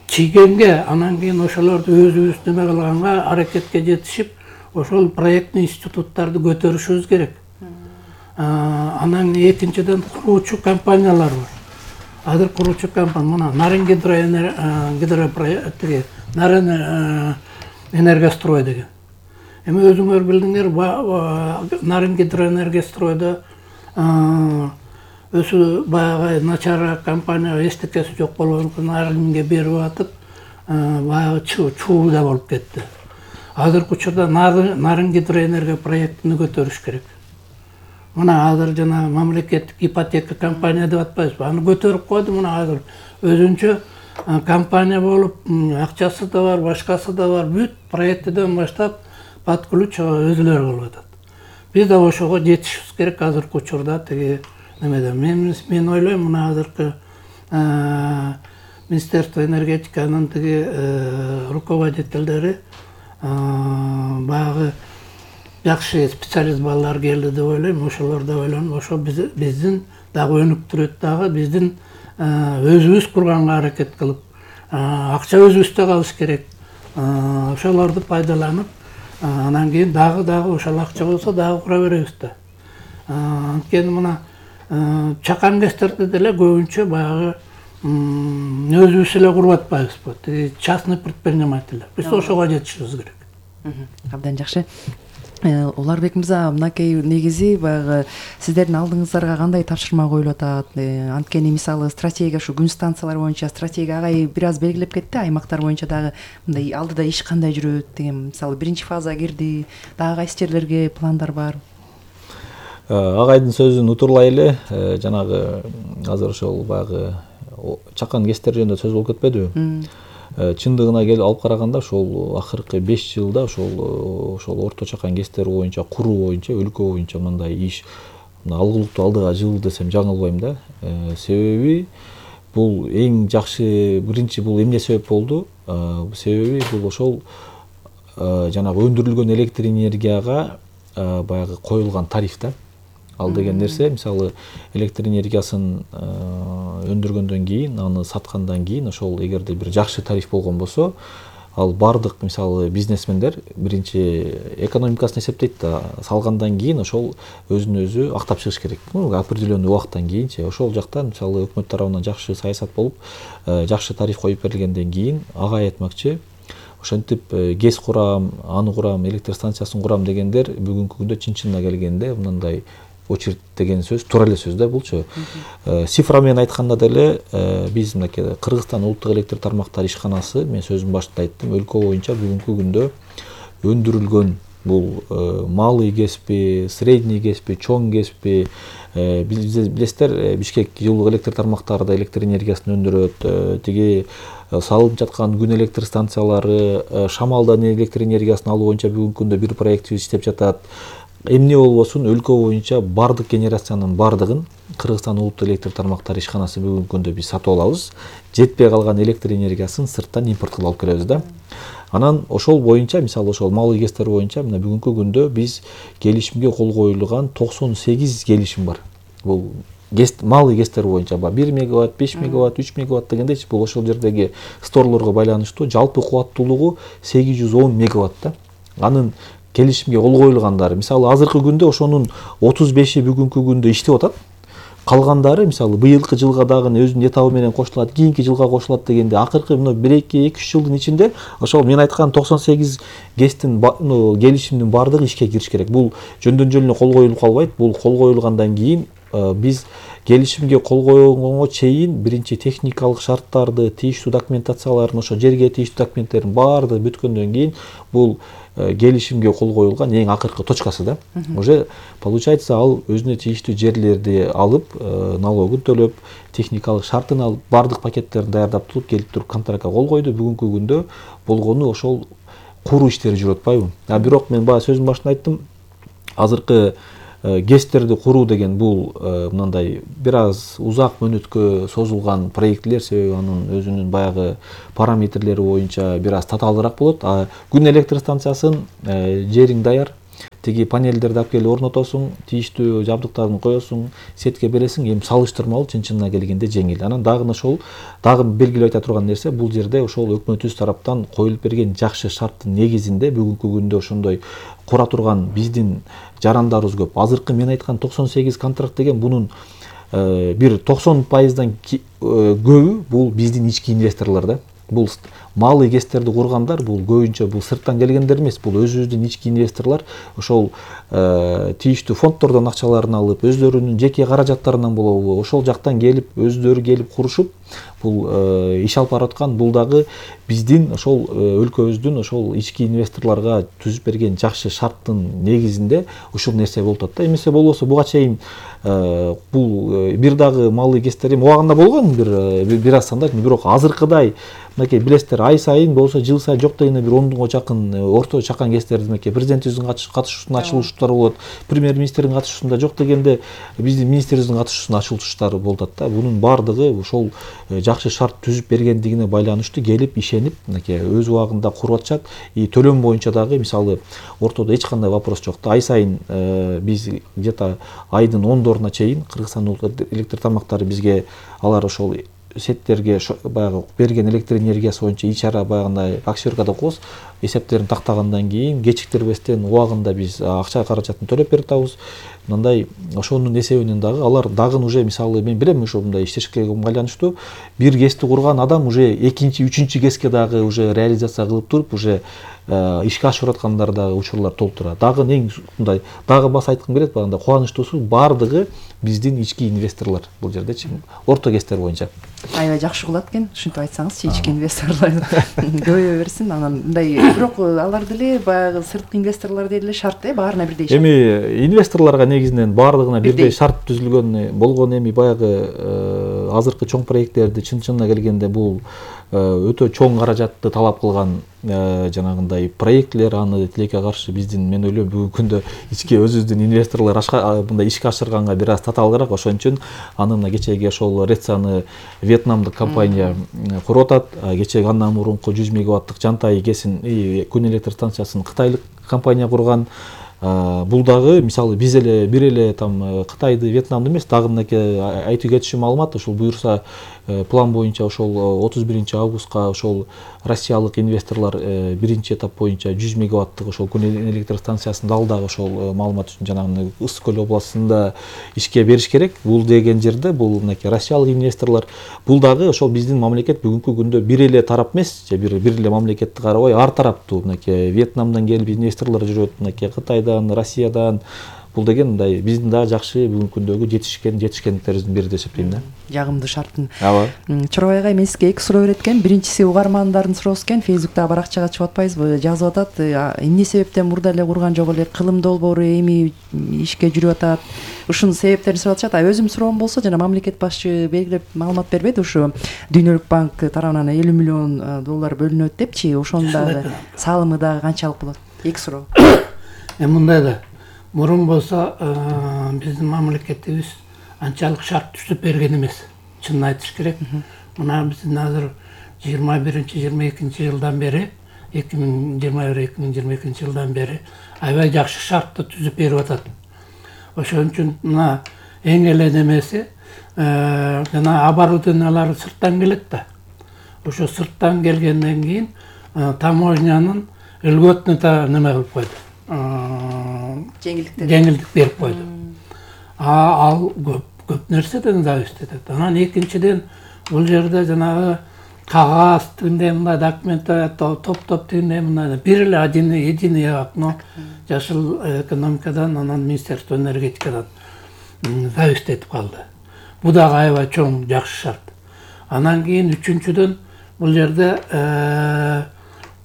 чийгенге, анан кийин ошолорду өзүбүз неме кылганга, аракетке жетишип, ошол проектный институттарды көтөрүшүбүз керек. Анан экинчиден куруучу компаниялар бар. Азыр куруучу компания мына Нарын гидропроекти, Нарын энергострой деген. Эми өзүңөр билдиңер, Нарын гидроэнергостройдо өзү баягы начар компания эстекеси жок болгон Нарынге берип атып, баягы чуу да болуп кетти. Азыркы учурда Нарын гидроэнерго проектини көтөрүш керек. Мына азыр жана мамлекеттик ипотека компания деп атпайбызбы? Аны көтөрүп койду, мына азыр өзүнчө компания болуп, акчасы да бар, башкасы да бар, бүт проектиден баштап под ключ өзүлөрү кылып атат. Биз да ошого жетишибиз керек азыркы учурда тиги немеде. Мен мен ойлойм, мына азыркы Министерство энергетиканын тиги руководителдери баягы жакшы специалист балдар келди деп ойлойм. Ошолор да ойлонуп, ошо биздин дагы өнүктүрөт дагы, биздин өзүбүз курганга аракет кылып, акча өзүбүздө калыш керек. Ошолорду пайдаланып, анан кийин дагы дагы ошол акча болсо дагы кура беребиз да. Анткени мына чакан кестерди деле көбүнчө баягы өзүбүз эле куруп атпайбызбы? Тиги частный предпринимательдер. Биз ошого жетишибиз керек. Абдан жакшы. Уларбек мырза, мынакей негизи баягы сиздердин алдыңыздарга кандай тапшырма коюлуп атат? Анткени мисалы стратегия, ушу күн станциялар боюнча стратегия агай бир аз белгилеп кетти, аймактар боюнча дагы мындай алдыда иш кандай жүрөт деген, мисалы биринчи фаза кирди, дагы кайсы жерлерге пландар бар? Агайдын сөзүн утурлай эле, жанагы азыр ошол баягы чакан кестер жөнүндө сөз болуп кетпедиби? Чындыгына келип алып караганда ошол акыркы беш жылда ошол ошол орто чакан кестер боюнча, куруу боюнча, өлкө боюнча мындай иш алгылыктуу алдыга жылды десем жаңылбайм да. Себеби бул эң жакшы, биринчи бул эмне себеп болду? Себеби бул ошол жанагы өндүрүлгөн электр энергияга баягы коюлган тариф да. Ал деген нерсе, мисалы электр энергиясын өндүргөндөн кийин, аны саткандан кийин ошол эгерде бир жакшы тариф болгон болсо, ал бардык мисалы бизнесмендер биринчи экономикасын эсептейт да, салгандан кийин ошол өзүн өзү актап чыгыш керек. Определенный убакыттан кийинчи ошол жактан мисалы өкмөт тарабынан жакшы саясат болуп, жакшы тариф коюп берилгенден кийин ага айтмакчы, ошентип гез курам, аны курам, электр станциясын курам дегендер бүгүнкү күндө чын-чынына келгенде мындай очередь деген сөз туура эле сөз да булчу. Цифра менен айтканда деле биз мынакей Кыргызстан улуттук электр тармактар ишканасы, мен сөзүм башында айттым, өлкө боюнча бүгүнкү күндө өндүрүлгөн бул малый кеспи, средний кеспи, чоң кеспи, билесиздер, Бишкек жылуулук электр тармактары да электр энергиясын өндүрөт, тиги салынып жаткан күн электр станциялары, шамалдан электр энергиясын алуу боюнча бүгүнкү күндө бир проект иштеп жатат. Эмне болбосун өлкө боюнча бардык генерациянын бардыгын Кыргызстан улуттук электр тармактары ишканасы бүгүнкү күндө биз сатып алабыз. Жетпей калган электр энергиясын сырттан импорт кылып алып келебиз да. Анан ошол боюнча, мисалы ошол малый кестер боюнча мына бүгүнкү күндө биз келишимге кол коюлган токсон сегиз келишим бар. Бул малый кестер боюнча бар. бир мегаватт, беш мегаватт, үч мегаватт дегендейчи, бул ошол жердеги сторлорго байланыштуу жалпы кубаттуулугу сегиз жүз он мегаватт да. Анын келишимге кол коюлгандары, мисалы азыркы күндө ошонун отуз беши бүгүнкү күндө иштеп атат. Калгандары мисалы быйылкы жылга дагы өзүнүн этабы менен кошулат, кийинки жылга кошулат дегенде акыркы мына бир эки эки үч жылдын ичинде ошол мен айткан токсон сегиз гестин келишимдин бардыгы ишке кириш керек. Бул жөндөн жөн эле кол коюлуп калбайт. Бул кол коюлгандан кийин биз келишимге кол койгонго чейин биринчи техникалык шарттарды, тийиштүү документацияларын, ошо жерге тийиштүү документтердин баардыгы бүткөндөн кийин бул келишимге кол коюлган эң акыркы точкасы да. Уже получается ал өзүнө тийиштүү жерлерди алып, налогун төлөп, техникалык шартын алып, бардык пакеттерин даярдап туруп келип туруп контрактка кол койду. Бүгүнкү күндө болгону ошол куруу иштери жүрүп атпайбы? А бирок мен баягы сөзүм башында айттым, азыркы гэстерди куруу деген бул мындай бир аз узак мөөнөткө созулган проектилер, себеби анын өзүнүн баягы параметрлери боюнча бир аз татаалыраак болот. А күн электр станциясын жериң даяр, тиги панелдерди алып келип орнотосуң, тийиштүү жабдыктарын коесуң, сетке бересиң, эми салыштырмалуу чын-чынына келгенде жеңил. Анан дагы ошол дагы белгилеп айта турган нерсе, бул жерде ошол өкмөтүбүз тараптан коюлуп берген жакшы шарттын негизинде бүгүнкү күндө ошондой кура турган биздин жарандарыбыз көп. Азыркы мен айткан токсон сегиз контракт деген бунун бир токсон пайыздан көбү бул биздин ички инвесторлор да. Бул малый гэстерди кургандар, бул көбүнчө бул сырттан келгендер эмес, бул өзүбүздүн ички инвесторлор ошол тийиштүү фонддордон акчаларын алып, өздөрүнүн жеке каражаттарынан болобу, ошол жактан келип, өздөрү келип курушуп, бул иш алып бараткан. Бул дагы биздин ошол өлкөбүздүн ошол ички инвесторлорго түзүп берген жакшы шарттын негизинде ушул нерсе болуп атат да. Эмесе болбосо буга чейин бул бир дагы малый гэстер эми убагында болгон бир бир аз санда, бирок азыркыдай мынакей билесиздер, ай сайын болсо жыл сайын жок дегенде бир ондонго жакын орто чакан гэстерди мынакей президентибиздин катышуусунда ачылыштары болот, премьер-министрдин катышуусунда, жок дегенде биздин министрибиздин катышуусунда ачылыштары болуп атат да. Бунун баардыгы ошол жакшы шарт түзүп бергендигине байланыштуу, келип ишенип мынакей өз убагында куруп атышат. И төлөм боюнча дагы мисалы ортодо эч кандай вопрос жок. Ай сайын биз где-то айдын ондоруна чейин Кыргызстан электр тармактары бизге алар ошол сеттерге баягы берген электр энергиясы боюнча ичара баягындай аксиоркада коебуз, эсептерин тактагандан кийин кечиктирбестен убагында биз акча каражатын төлөп берип атабыз. Мындай ошонун эсебинен дагы алар дагы уже мисалы мен билем ошол мындай иштешке байланыштуу бир гэсти курган адам уже экинчи, үчүнчү гэске дагы уже реализация кылып туруп уже ишке ашырып аткандар дагы учурлар толуп турат. Дагы эң мындай дагы баса айткым келет, баягындай кубанычтуусу баардыгы биздин ички инвесторлор бул жердечи, орто гэстер боюнча. Аябай жакшы кылат экен, ушинтип айтсаңызчы, ички инвесторлор көбөйө берсин. Анан мындай бирок алар деле баягы сырткы инвесторлор деле шарт э, баарына бирдей шарт. Эми инвесторлорго негизинен баардыгына бирдей шарт түзүлгөн болгон. Эми баягы азыркы чоң проекттерди чын-чынына келгенде бул өтө чоң каражатты талап кылган жанагындай проектлер, аны тилекке каршы биздин мен ойлойм бүгүнкү күндө ички өзүбүздүн инвесторлор мындай ишке ашырганга бир аз татаалыраак. Ошон үчүн аны мына кечеги ошол Рецаны вьетнамдык компания куруп атат. Кечеги андан мурунку жүз мегаваттык Жантай КЭСин күн электр станциясын кытайлык компания курган. Бул дагы мисалы биз эле бир эле там Кытайды, Вьетнамды эмес, дагы мынакей айтып кетишим маалымат, ошол буюрса план боюнча ошол отуз биринчи августка ошол россиялык инвесторлор биринчи этап боюнча жүз мегаваттык ошол күн электр станциясын дал дагы ошол маалымат үчүн жанагы Ысык көл областында ишке бериш керек. Бул деген жерде бул мынакей россиялык инвесторлор, бул дагы ошол биздин мамлекет бүгүнкү күндө бир эле тарап эмес, же бир бир эле мамлекетти карабай ар тараптуу мынакей Вьетнамдан келип инвесторлор жүрөт, мынакей Кытайдан, Россиядан. Бул деген мындай биздин дагы жакшы бүгүнкү күндөгү жетишкен жетишкендиктерибиздин бири деп эсептейм да. Жагымдуу шарттын. Ооба. Чорбай агай, мен сизге эки суроо берет экен. Биринчиси угармандардын суроосу экен. Фейсбуктагы баракчага чыгып атпайбызбы? Жазып атат. Эмне себептен мурда эле курган жок эле, кылым долбоору эми ишке жүрүп атат. Ушунун себептерин сурап атышат. А өзүм суроом болсо, жана мамлекет башчы белгилеп маалымат бербеди, ушу Дүйнөлүк банк тарабынан элүү миллион доллар бөлүнөт депчи. Ошонун дагы салымы дагы канчалык болот? Эки суроо. Эми мындай да, мурун болсо биздин мамлекетибиз анчалык шарт түзүп берген эмес. Чынын айтыш керек. Мына биздин азыр жыйырма биринчи жыйырма экинчи жылдан бери, эки миң жыйырма бир эки миң жыйырма экинчи жылдан бери аябай жакшы шартты түзүп берип атат. Ошон үчүн мына эң эле немеси жана оборудованиялары сырттан келет да. Ошо сырттан келгенден кийин таможнянын льготный неме кылып койду. Жеңилдиктер жеңилдик берип койду. Ал көп көп нерседен зависит этет. Анан экинчиден бул жерде жанагы кагаз тигиндей мындай документтер топ-топ тигиндей мындай бир эле единый окно жашыл экономикадан, анан Министерство энергетикадан зависит этип калды. Бул дагы аябай чоң жакшы шарт. Анан кийин үчүнчүдөн бул жерде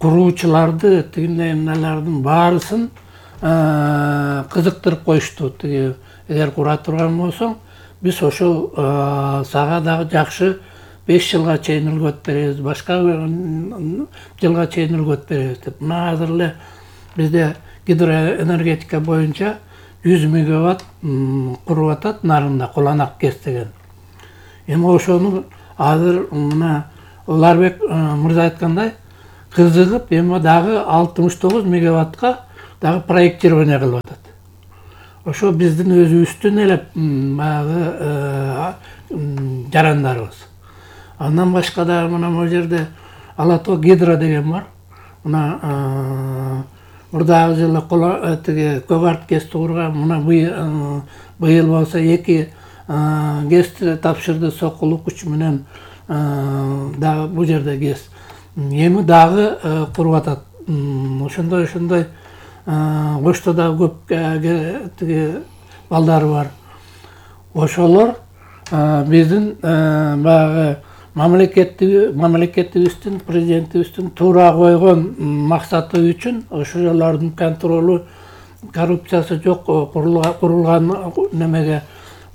куруучуларды тигиндей эмнелердин баарысын кызыктырып коюшту. Эгер кура турган болсоң, биз ошол сага дагы жакшы беш жылга чейин льгот беребиз, башка жылга чейин льгот беребиз деп. Мына азыр эле бизде гидроэнергетика боюнча жүз мегаватт куруп атат нарында Куланак КЭС деген. Эми ошону азыр мына Уларбек мырза айткандай кызыгып эми дагы алтымыш тогуз мегаваттка дагы проектирование кылып атат. Ошо биздин өзүбүздүн эле баягы жарандарыбыз. Андан башка дагы мына могу жерде Ала Тоо Гидро деген бар. Мына мурдагы жылы тиги Көк КЭСти курган, мына быйыл болсо эки КЭСти тапшырды, Сокулук үч менен дагы бул жерде КЭС. Эми дагы куруп атат. Ошондой ошондой Коштода көп тиги балдары бар. Ошолор биздин баягы мамлекетибиздин, президентибиздин туура койгон максаты үчүн ошолордун контролу, коррупциясы жок курулган немеге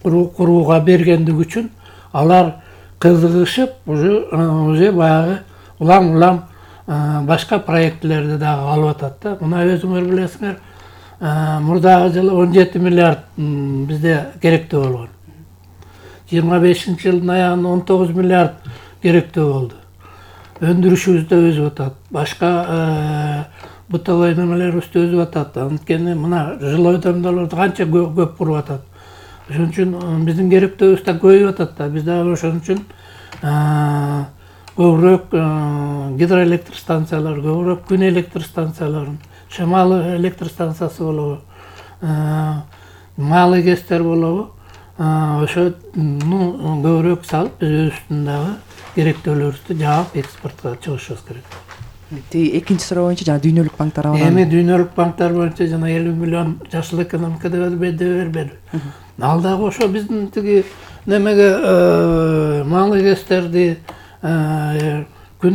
курууга бергендиги үчүн алар кызыгышып уже баягы улам-улам башка проектилерди дагы алып атат да. Мына өзүңөр билесиңер, мурдагы жылы он жети миллиард бизде керектүү болгон. жыйырма бешинчи жылдын аягында он тогуз миллиард керектүү болду. Өндүрүшүбүз да өсүп атат. Башка бытовой немелерибиз да өсүп атат. Анткени мына жилойдондолорду канча көп куруп атат. Ошон үчүн биздин керектүүбүз да көбөйүп атат да. Биз дагы ошон үчүн көбүрөөк гидроэлектр станциялар, көбүрөөк күн электр станцияларын, шамал электр станциясы болобу, малый КЭСтер болобу, ошону көбүрөөк салып биз өзүбүздүн дагы керектүүлөрүбүздү жаап экспортко чыгышыбыз керек. Тиги экинчи суроо боюнча жана дүйнөлүк банктар алган. Эми дүйнөлүк банктар боюнча жана элүү миллион жашыл экономика деп бербеди. Ал дагы ошо биздин тиги немеге малый КЭСтерди, күн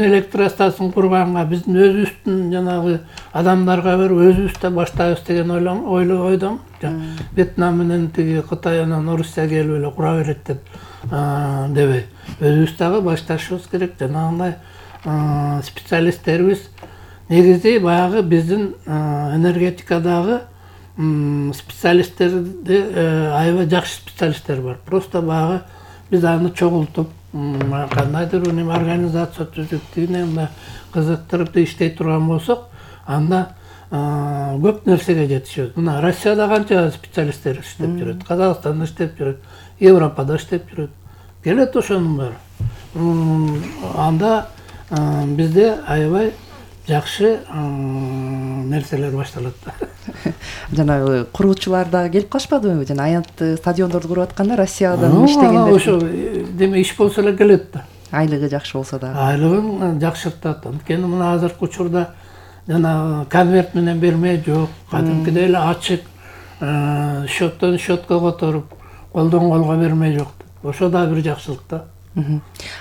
электр станциясын курганга биздин өзүбүздүн жанагы адамдарга берип өзүбүз да баштайбыз деген ойдом. Вьетнам менен тиги Кытай анан Орусия келип эле кура берет деп дебей, өзүбүз дагы башташыбыз керек. Жанагындай специалисттерибиз негизи баягы биздин энергетикадагы специалисттерди аябай жакшы специалисттер бар. Просто баягы биз аны чогултуп кандайдыр бир организация түзүп, тигинен кызыктырып иштей турган болсок, анда көп нерсеге жетишебиз. Мына Россияда канча специалисттер иштеп жүрөт, Казакстанда иштеп жүрөт, Европада иштеп жүрөт. Келет ошонун баары. Анда бизде аябай жакшы нерселер башталат. Жана куруучулар дагы келип калышпадыбы? Жана аянт стадиондорду куруп атканда Россиядан иштегендер. Ошо деме иш болсо эле келет да. Айлыгы жакшы болсо дагы. Айлыгын жакшыртат. Анткени мына азыркы учурда жана конверт менен берме жок, кадимкидей эле ачык, счеттон счетко которуп, колдон колго берме жок. Ошо да бир жакшылык да.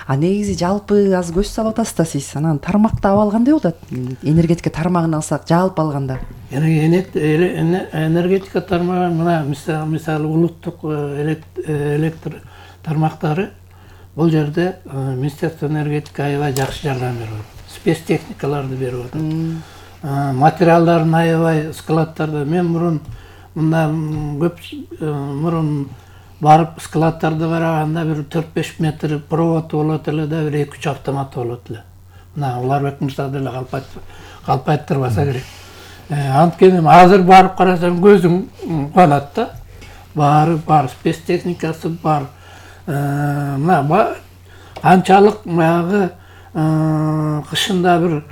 А негизи жалпы азыр көз салып атасыз да сиз. Анан тармакты алып алгандай болот. Энергетика тармагын алсак, жалпы алганда. Энергетика тармагы мына мисалы улуттук электр тармактары бул жерде Министерство энергетика аябай жакшы жардам берип атат. Спецтехникаларды берип атат. Материалдарын аябай складтарда. Мен мурун мында көп мурун барып складтарды караганда бир төрт беш метр провод болот эле да, бир эки үч автомат болот эле. Мына Уларбек мырза деле калп айттырбаса керек. Анткени азыр барып карасаң көзүң куанат да. Баары бар, спецтехникасы бар. Мына анчалык баягы кышында бир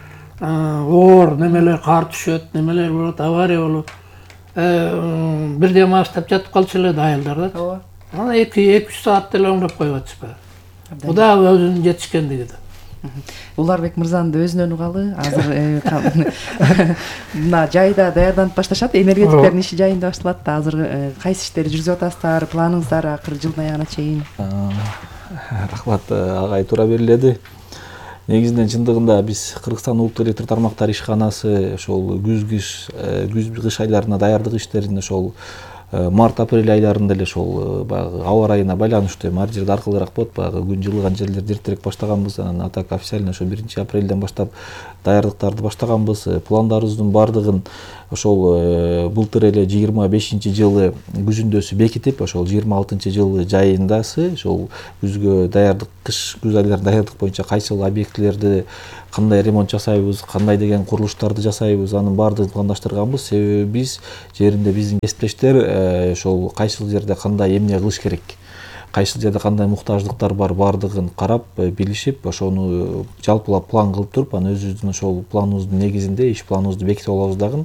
оор немелер кар түшөт, немелер болот, авария болот. Бирден баштап жатып калчу эле да айылдар да. Ооба. Ана эки үч саат деле оңдоп коюп атышпайбы. Бу да өзүнүн жетишкендиги да. Уларбек мырзанын да өзүнөн угалы. Азыр мына жайда даярданып башташат, энергетиктердин иши жайында башталат да. Азыр кайсы иштерди жүргүзүп атасыздар, планыңыздар акыр жылдын аягына чейин? Рахмат, агай туура бериледи. Негизинен чындыгында биз Кыргызстан улуттук электр тармактар ишканасы ошол күз кыш күз кыш айларына даярдык иштерин ошол март апрель айларында эле ошол баягы аба ырайына байланыштуу эми ар жерде аркылыраак болот, баягы күн жылыган жерлерде эртерээк баштаганбыз. Анан атак официально ошо биринчи апрелден баштап даярдыктарды баштаганбыз. Пландарыбыздын баардыгын ошол былтыр эле жыйырма бешинчи жылы күзүндөсү бекитип, ошол жыйырма алтынчы жылы жайындасы ошол күзгө даярдык, кыш күз айларына даярдык боюнча кайсыл объектилерди кандай ремонт жасайбыз, кандай деген курулуштарды жасайбыз, анын баардыгын пландаштырганбыз. Себеби биз жеринде биздин кесиптештер ошол кайсыл жерде кандай эмне кылыш керек, кайсыл жерде кандай муктаждыктар бар, баардыгын карап билишип, ошону жалпылап план кылып туруп, анан өзүбүздүн ошол планыбыздын негизинде иш планыбызды бекитип алабыз дагы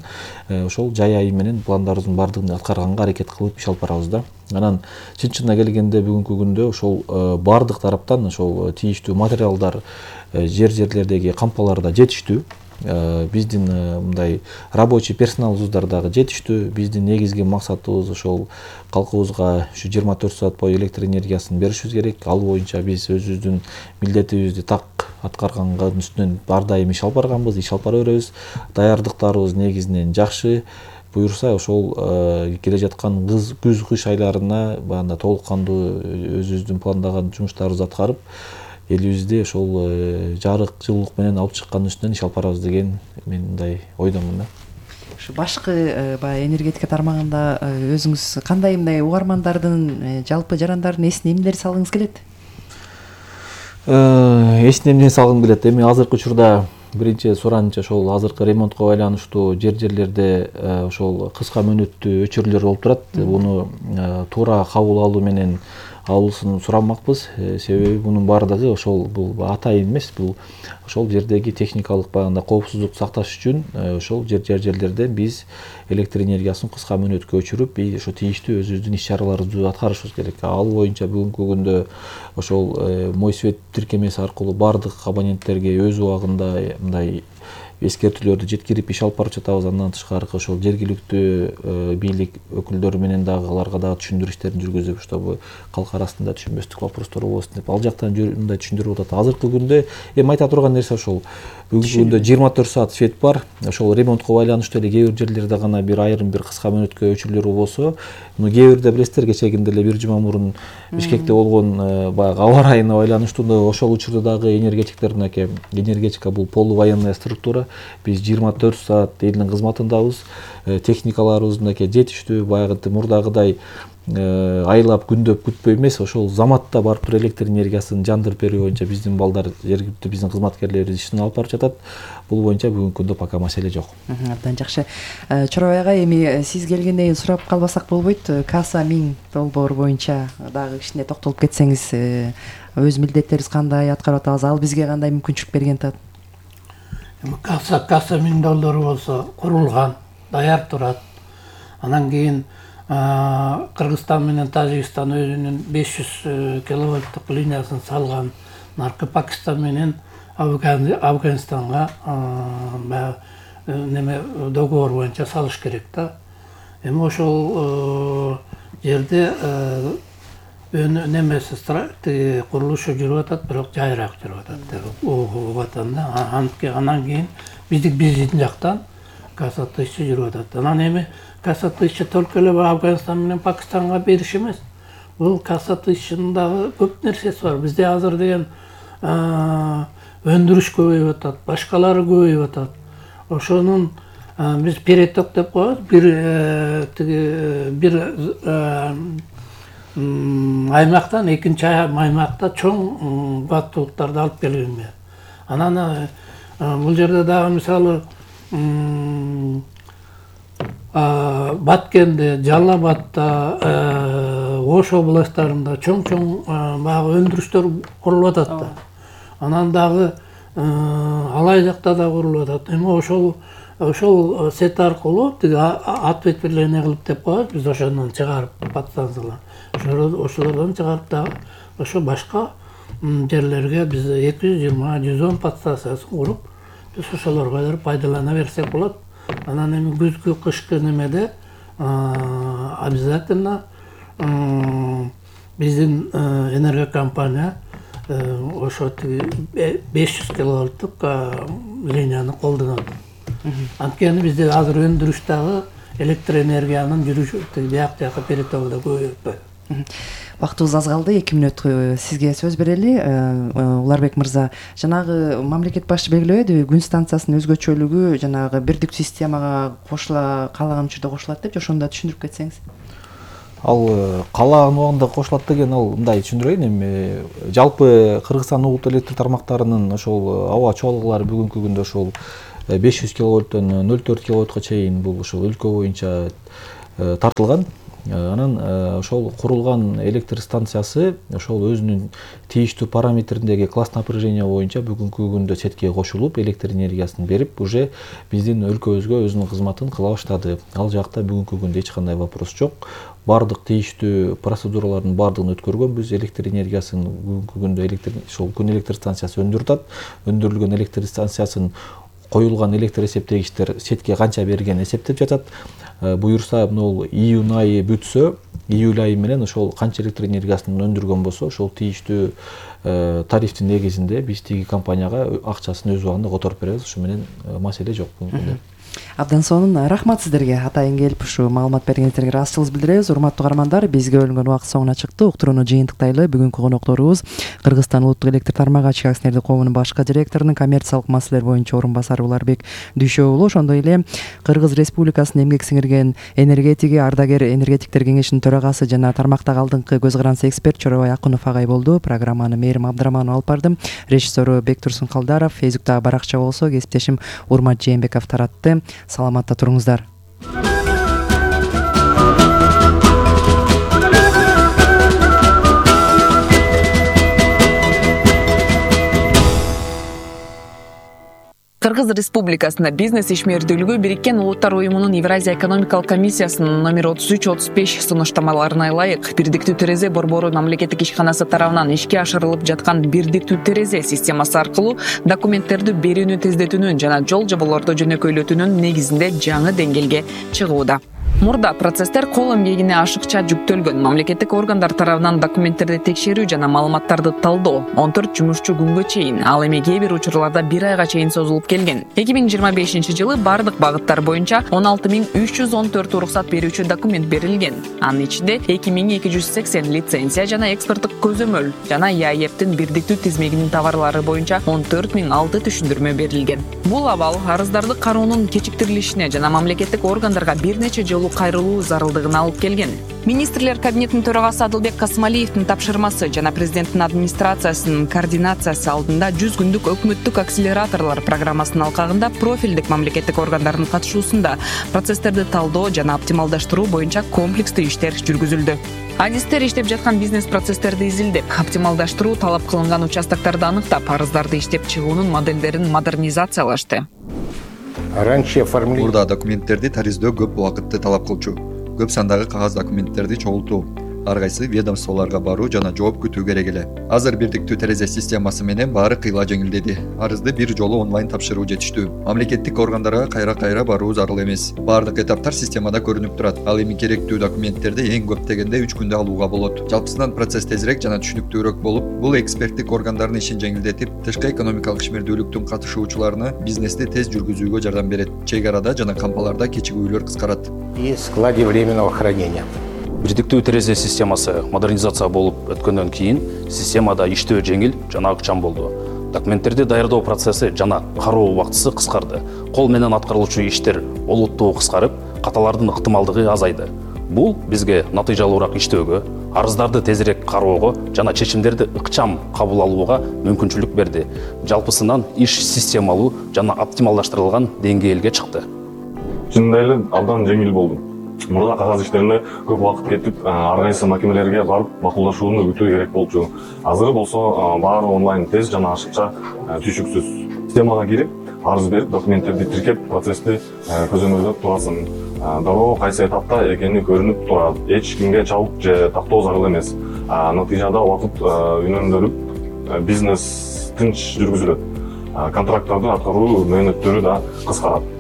ошол жай айы менен пландарыбыздын баардыгын аткарганга аракет кылып иш алып барабыз да. Анан чын чынына келгенде бүгүнкү күндө ошол баардык тараптан ошол тийиштүү материалдар жер жерлердеги кампаларда жетиштүү. Биздин мындай рабочий персоналыбыздар дагы жетиштүү. Биздин негизги максатыбыз ошол калкыбызга ушу жыйырма төрт саат бою электр энергиясын беришибиз керек. Ал боюнча биз өзүбүздүн милдетибизди так аткарганга үстүнөн ар дайым иш алып барганбыз, иш алып бара беребиз. Даярдыктарыбыз негизинен жакшы. Буюрса ошол келе жаткан күз кыш айларына баягы толук кандуу өзүбүздүн пландаган жумуштарыбызды аткарып, элибизди ошол жарык жылуулук менен алып чыккандын үстүнөн иш алып барабыз деген мен мындай ойдомун да. Ушу башкы баягы энергетика тармагында өзүңүз кандай мындай угармандардын, жалпы жарандардын эсине эмнелерди салгыңыз келет? Эсине эмне салгым келет? Эми азыркы учурда биринчи суранычы ошол азыркы ремонтко байланыштуу жер жерлерде ошол кыска мөөнөттүү өчүрүүлөр болуп турат. Буну туура кабыл алуу менен алуусын сурамакпыз. Себеби мунун баардыгы ошол бул атайын эмес, бул ошол жердеги техникалык баягында коопсуздукту сакташ үчүн ошол жер жерлерде биз электр энергиясын кыска мөөнөткө өчүрүп, ошо тийиштүү өзүбүздүн иш чараларыбызды аткарышыбыз керек. Ал боюнча бүгүнкү күндө ошол Мой свет тиркемеси аркылуу баардык абоненттерге өз убагында мындай эскертүүлөрдү жеткирип иш алып барып жатабыз. Андан тышкары ошол жергиликтүү бийлик өкүлдөрү менен дагы аларга дагы түшүндүрүү иштерин жүргүзүп, чтобы калк арасында түшүнбөстүк вопростор болбосун деп ал жактан мындай түшүндүрүп атат. Азыркы күндө эми айта турган нерсе ошол бүгүнкү күндө жыйырма төрт саат свет бар. Ошол ремонтко байланыштуу эле кээ бир жерлерде гана бир айрым бир кыска мөөнөткө өчүрүүлөр болсо, муну кээ бирде билесиздер, кечегинде эле бир жума мурун Бишкекте болгон баягы аба ырайына байланыштуу ошол учурда дагы энергетиктер мынакей, энергетика бул полувоенная структура. Биз жыйырма төрт саат элдин кызматындабыз. Техникаларыбыз мынакей жетиштүү, баягы мурдагыдай айлап күндөп күтпөй эмес, ошол заматта барып туруп электр энергиясын жандырып берүү боюнча биздин балдар, жергиликтүү биздин кызматкерлерибиз ишин алып барып жатат. Бул боюнча бүгүнкү күндө пока маселе жок. Абдан жакшы. Чорой ага, эми сиз келгенден кийин сурап калбасак болбойт. Каса миң долбоор боюнча дагы кичине токтолуп кетсеңиз, өз милдеттерибиз кандай аткарып атабыз, ал бизге кандай мүмкүнчүлүк берген атат? Каса каса миң доллар болсо курулган, даяр турат. Анан кийин Кыргызстан менен Тажикстан өзүнүн беш жүз киловольттук линиясын салган. Наркы Пакистан менен Афганистанга баягы неме договор боюнча салыш керек да. Эми ошол жерде немеси курулушу жүрүп атат, бирок жайыраак жүрүп атат деп угуп атам да. Анан кийин биздик биздин жактан каса тысяча жүрүп атат. Анан эми каса тысяча только эле Афганистан менен Пакистанга бериш эмес. Бул каса тысячанын дагы көп нерсеси бар. Бизде азыр деген өндүрүш көбөйүп атат, башкалары көбөйүп атат. Ошонун биз переток деп коебуз. Бир тиги бир аймактан экинчи аймакта чоң кубаттуулуктарды алып келгенге. Анан бул жерде дагы мисалы Баткенде, Жалал Абадта, Ош областарында чоң-чоң баягы өндүрүштөр курулуп атат да. Анан дагы Алай жакта да курулуп атат. Эми ошол ошол сет аркылуу тиги ответвление кылып деп коебуз, биз ошондон чыгарып подстанциялар. Ошолордон чыгарып дагы ошо башка жерлерге биз эки жүз жыйырма жүз он подстанциясын куруп, биз ошолорго пайдалана берсек болот. Анан эми күзгү кышкы немеде обязательно биздин энергокомпания ошо беш жүз киловольттук линияны колдонот. Анткени бизде азыр өндүрүш дагы электр энергиянын жүрүшү бияк жака перетогу да көбөйөт. Убактыбыз аз калды, эки мүнөт сизге сөз берели. Уларбек мырза, жанагы мамлекет башчы белгилебедиби, күн станциясынын өзгөчөлүгү жанагы бирдиктүү системага кошула каалаган учурда кошулат деп, ошондо түшүндүрүп кетсеңиз. Ал каалаган убагында кошулат деген ал мындай түшүндүрөйүн. Эми жалпы Кыргызстан улуттук электр тармактарынын ошол аба чоалыклары бүгүнкү күндө ошол беш жүз киловольттон ноль төрт киловольтко чейин бул ошол өлкө боюнча тартылган. Анан ошол курулган электр станциясы ошол өзүнүн тийиштүү параметриндеги класс напряжение боюнча бүгүнкү күндө четке кошулуп, электр энергиясын берип, уже биздин өлкөбүзгө өзүнүн кызматын кыла баштады. Ал жакта бүгүнкү күндө эч кандай вопрос жок. Бардык тийиштүү процедуралардын бардыгын өткөргөнбүз. Электр энергиясын бүгүнкү күндө электр ошол күн электр станциясы өндүрүп атат. Өндүрүлгөн электр станциясын коюлган электр эсептегичтер четке канча берген эсептеп жатат. Буюрса, могул июнь айы бүтсө, июль айы менен ошол канча электр энергиясын өндүргөн болсо, ошол тийиштүү тарифтин негизинде биз тиги компанияга акчасын өз убагында которуп беребиз. Ушу менен маселе жок бүгүнкү. Абдан сонун рахмат сиздерге, атайын келип ушу маалымат бергениңиздерге ыраазычылык билдиребиз. Урматтуу каармандар, бизге бөлүнгөн убакыт соңуна чыкты. Уктурууну жыйынтыктайлы. Бүгүнкү конокторубуз Кыргызстан улуттук электр тармагы ачык акционердик коомунун башкы директорунун коммерциялык маселелер боюнча орун басары Уларбек Дүйшө уулу, ошондой эле Кыргыз Республикасынын эмгек сиңирген энергетиги, ардагер энергетиктер кеңешинин төрагасы жана тармактагы алдыңкы көз карандысы эксперт Чорабай Акунов агай болду. Программаны Мээрим Абдыраманова алып бардым. Режиссеру Бектурсун Калдаров, Фейсбуктагы баракча болсо кесиптешим Урмат Жээнбеков таратты. Саламатта туруңуздар. Кыргыз Республикасында бизнес ишмердүүлүгү Бириккен Улуттар Уюмунун Евразия экономикалык комиссиясынын номер отуз үч отуз беш сунуштамаларына ылайык бирдиктүү терезе борбору мамлекеттик ишканасы тарабынан ишке ашырылып жаткан бирдиктүү терезе системасы аркылуу документтерди берүүнү тездетүүнүн жана жол жоболорду жөнөкөйлөтүүнүн негизинде жаңы деңгээлге чыгууда. Мурда процесстер кол эмгегине ашыкча жүктөлгөн. Мамлекеттик органдар тарабынан документтерди текшерүү жана маалыматтарды талдоо он төрт жумушчу күнгө чейин, ал эми кээ бир учурларда бир айга чейин созулуп келген. эки миң жыйырма бешинчи жылы бардык багыттар боюнча он алты миң үч жүз он төрт уруксат берүүчү документ берилген. Анын ичинде эки миң эки жүз сексен лицензия жана экспорттук көзөмөл жана ЯЭПтин бирдиктүү тизмегинин товарлары боюнча он төрт миң алты түшүндүрмө берилген. Бул абал арыздарды кароонун кечиктирилишине жана мамлекеттик органдарга бир нече жолу кайрылуу зарылдыгына алып келген. Министрлер кабинетинин төрагасы Адылбек Касымалиевдин тапшырмасы жана президенттин администрациясынын координациясы алдында жүз күндүк өкмөттүк акселераторлор программасынын алкагында профилдик мамлекеттик органдардын катышуусунда процесстерди талдоо жана оптималдаштыруу боюнча комплекстүү иштер жүргүзүлдү. Адистер иштеп жаткан бизнес процесстерди изилдеп, оптималдаштыруу талап кылынган участокторду аныктап, арыздарды иштеп чыгуунун моделдерин модернизациялашты. Мурда документтерди тариздөө көп убакытты талап кылчу. Көп сандагы кагаз документтерди чогултуу, ар кайсы ведомстволорго баруу жана жооп күтүү керек эле. Азыр бирдиктүү терезе системасы менен баары кыйла жеңилдеди. Арызды бир жолу онлайн тапшыруу жетиштүү. Мамлекеттик органдарга кайра-кайра баруу зарыл эмес. Баардык этаптар системада көрүнүп турат. Ал эми керектүү документтерди эң көп дегенде үч күндө алууга болот. Жалпысынан процесс тезирээк жана түшүнүктүүрөөк болуп, бул эксперттик органдардын ишин жеңилдетип, тышкы экономикалык ишмердүүлүктүн катышуучуларына бизнести тез жүргүзүүгө жардам берет. Чек арада жана кампаларда кечигүүлөр кыскарат. И складе временного хранения. Бирдиктүү терезе системасы модернизация болуп өткөндөн кийин системада иштөө жеңил жана ыкчам болду. Документтерди даярдоо процесси жана кароо убактысы кыскарды. Кол менен аткарылуучу иштер олуттуу кыскарып, каталардын ыктымалдыгы азайды. Бул бизге натыйжалуураак иштөөгө, арыздарды тезирээк кароого жана чечимдерди ыкчам кабыл алууга мүмкүнчүлүк берди. Жалпысынан иш системалуу жана оптималдаштырылган деңгээлге чыкты. Чындап эле абдан жеңил болду. Мурда кагаз иштерине көп убакыт кетип, ар кайсы макемелерге барып макулдашууну күтүү керек болчу. Азыр болсо баары онлайн, тез жана ашыкча, түшүксүз. Системага кирип, арыз берип, документтерди тиркеп, процессти көзөмөлдөп турасың. Дароо кайсы этапта экени көрүнүп турат. Эч кимге чабык же тактоо зарыл эмес. Натыйжада убакыт үнөмдөлүп, бизнес тынч жүргүзүлөт. Контракттарды аткаруу мөөнөттөрү да кыскарат.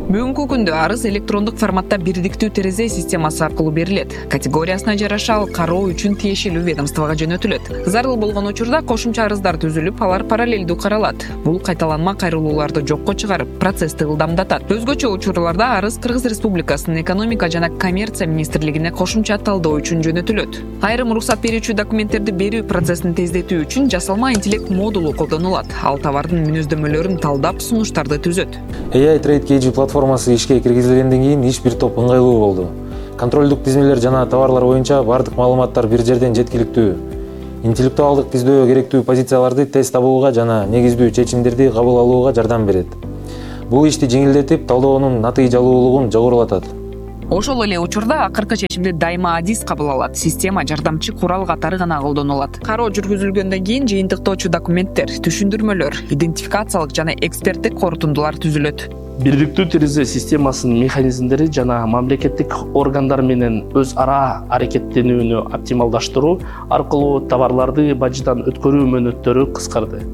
Бүгүнкү күндө арыз электрондук форматта бирдиктүү терезе системасы аркылуу берилет. Категориясына жараша ал кароо үчүн тиешелүү ведомствого жөнөтүлөт. Зарыл болгон учурда кошумча арыздар түзүлүп, алар параллелдүү каралат. Бул кайталанма кайрылууларды жокко чыгарып, процессти ылдамдатат. Өзгөчө учурларда арыз Кыргыз Республикасынын экономика жана коммерция министрлигине кошумча талдоо үчүн жөнөтүлөт. Айрым уруксат берүүчү документтерди берүү процессин тездетүү үчүн жасалма интеллект модулу колдонулат. Ал товардын мүнөздөмөлөрүн талдап, сунуштарды түзөт. эй ай Trade кей джи платформасы ишке киргизилгенден кийин иш бир топ ыңгайлуу болду. Контролдук тизмелер жана товарлар боюнча бардык маалыматтар бир жерден жеткиликтүү. Интеллектуалдык тиздөө керектүү позицияларды тез табууга жана негиздүү чечимдерди кабыл алууга жардам берет. Бул ишти жеңилдетип, талдоонун натыйжалуулугун жогорулатат. Ошол эле учурда акыркы чечимди дайыма адис кабыл алат. Система жардамчы курал катары гана колдонулат. Кароо жүргүзүлгөндөн кийин жыйынтыктоочу документтер, түшүндүрмөлөр, идентификациялык жана эксперттик корутундулар түзүлөт. Бирдиктүү терезе системасынын механизмдери жана мамлекеттик органдар менен өз ара аракеттенүүнү оптималдаштыруу аркылуу товарларды бажыдан өткөрүү мөөнөттөрү кыскарды.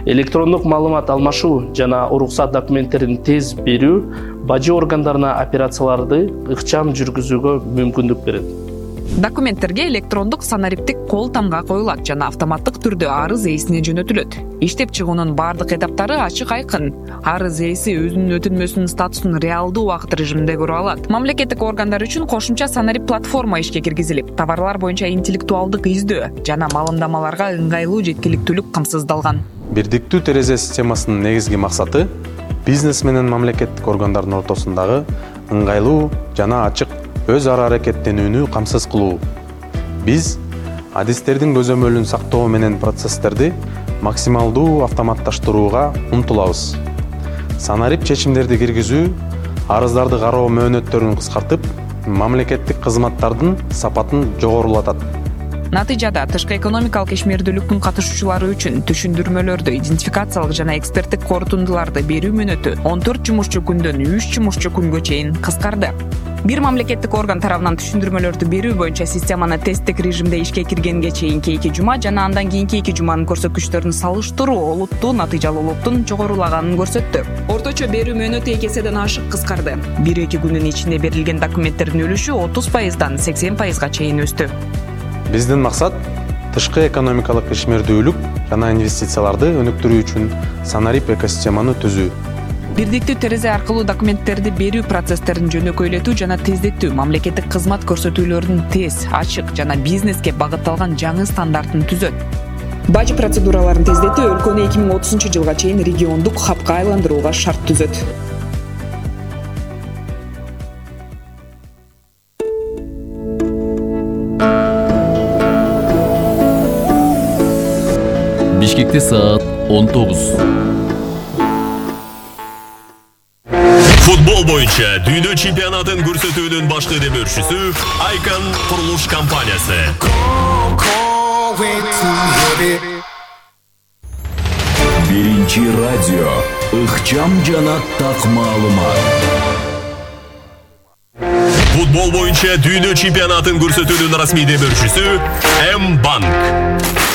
Электрондук маалымат алмашуу жана уруксат документтерин тез берүү бажы органдарына операцияларды ыкчам жүргүзүүгө мүмкүндүк берет. Документтерге электрондук санариптик кол тамга коюлат жана автоматтык түрдө арыз ээсине жөнөтүлөт. Иштеп чыгуунун бардык этаптары ачык айкын. Арыз ээси өзүнүн өтүнмөсүнүн статусун реалдуу убакыт режиминде көрө алат. Мамлекеттик органдар үчүн кошумча санарип платформа ишке киргизилип, товарлар боюнча интеллектуалдык издөө жана маалымдамаларга ыңгайлуу жеткиликтүүлүк камсыздалган. Бирдиктүү терезе системасынын негизги максаты бизнес менен мамлекеттик органдардын ортосундагы ыңгайлуу жана ачык өз ара аракеттенүүнү камсыз кылуу. Биз адистердин көзөмөлүн сактоо менен процесстерди максималдуу автоматташтырууга умтулабыз. Санарип чечимдерди киргизүү арыздарды кароо мөөнөттөрүн кыскартып, мамлекеттик кызматтардын сапатын жогорулатат. Натыйжада тышкы экономикалык ишмердүүлүктүн катышуучулары үчүн түшүндүрмөлөрдү, идентификациялык жана эксперттик корутундуларды берүү мөөнөтү он төрт жумушчу күндөн үч жумушчу күнгө чейин кыскарды. Бир мамлекеттик орган тарабынан түшүндүрмөлөрдү берүү боюнча системаны тесттик режимде ишке киргенге чейинки эки жума жана андан кийинки эки жуманын көрсөткүчтөрүн салыштыруу олуттуу натыйжалуулуктун жогорулаганын көрсөттү. Орточо берүү мөөнөтү эки эседен ашык кыскарды. бир эки күндүн ичинде берилген документтердин үлүшү отуз пайыздан сексен пайызга чейин өстү. Биздин максат тышкы экономикалык ишмердүүлүк жана инвестицияларды өнүктүрүү үчүн санарип экосистеманы түзүү. Бирдиктүү терезе аркылуу документтерди берүү процесстерин жөнөкөйлөтүү жана тездетүү, мамлекеттик кызмат көрсөтүүлөрүнүн тез, ачык жана бизнеске багытталган жаңы стандартын түзөт. Бажы процедураларын тездетүү өлкөнү эки миң отузунчу жылга чейин региондук хабка айландырууга шарт түзөт. Бишкекте саат он тогуз. Футбол боюнча дүйнө чемпионатын көрсөтүүнүн башкы демөөрчүсү Icon курулуш компаниясы. Биринчи радио ыкчам жана так маалымат. Футбол боюнча дүйнө чемпионатын көрсөтүүнүн расмий демөөрчүсү М-банк.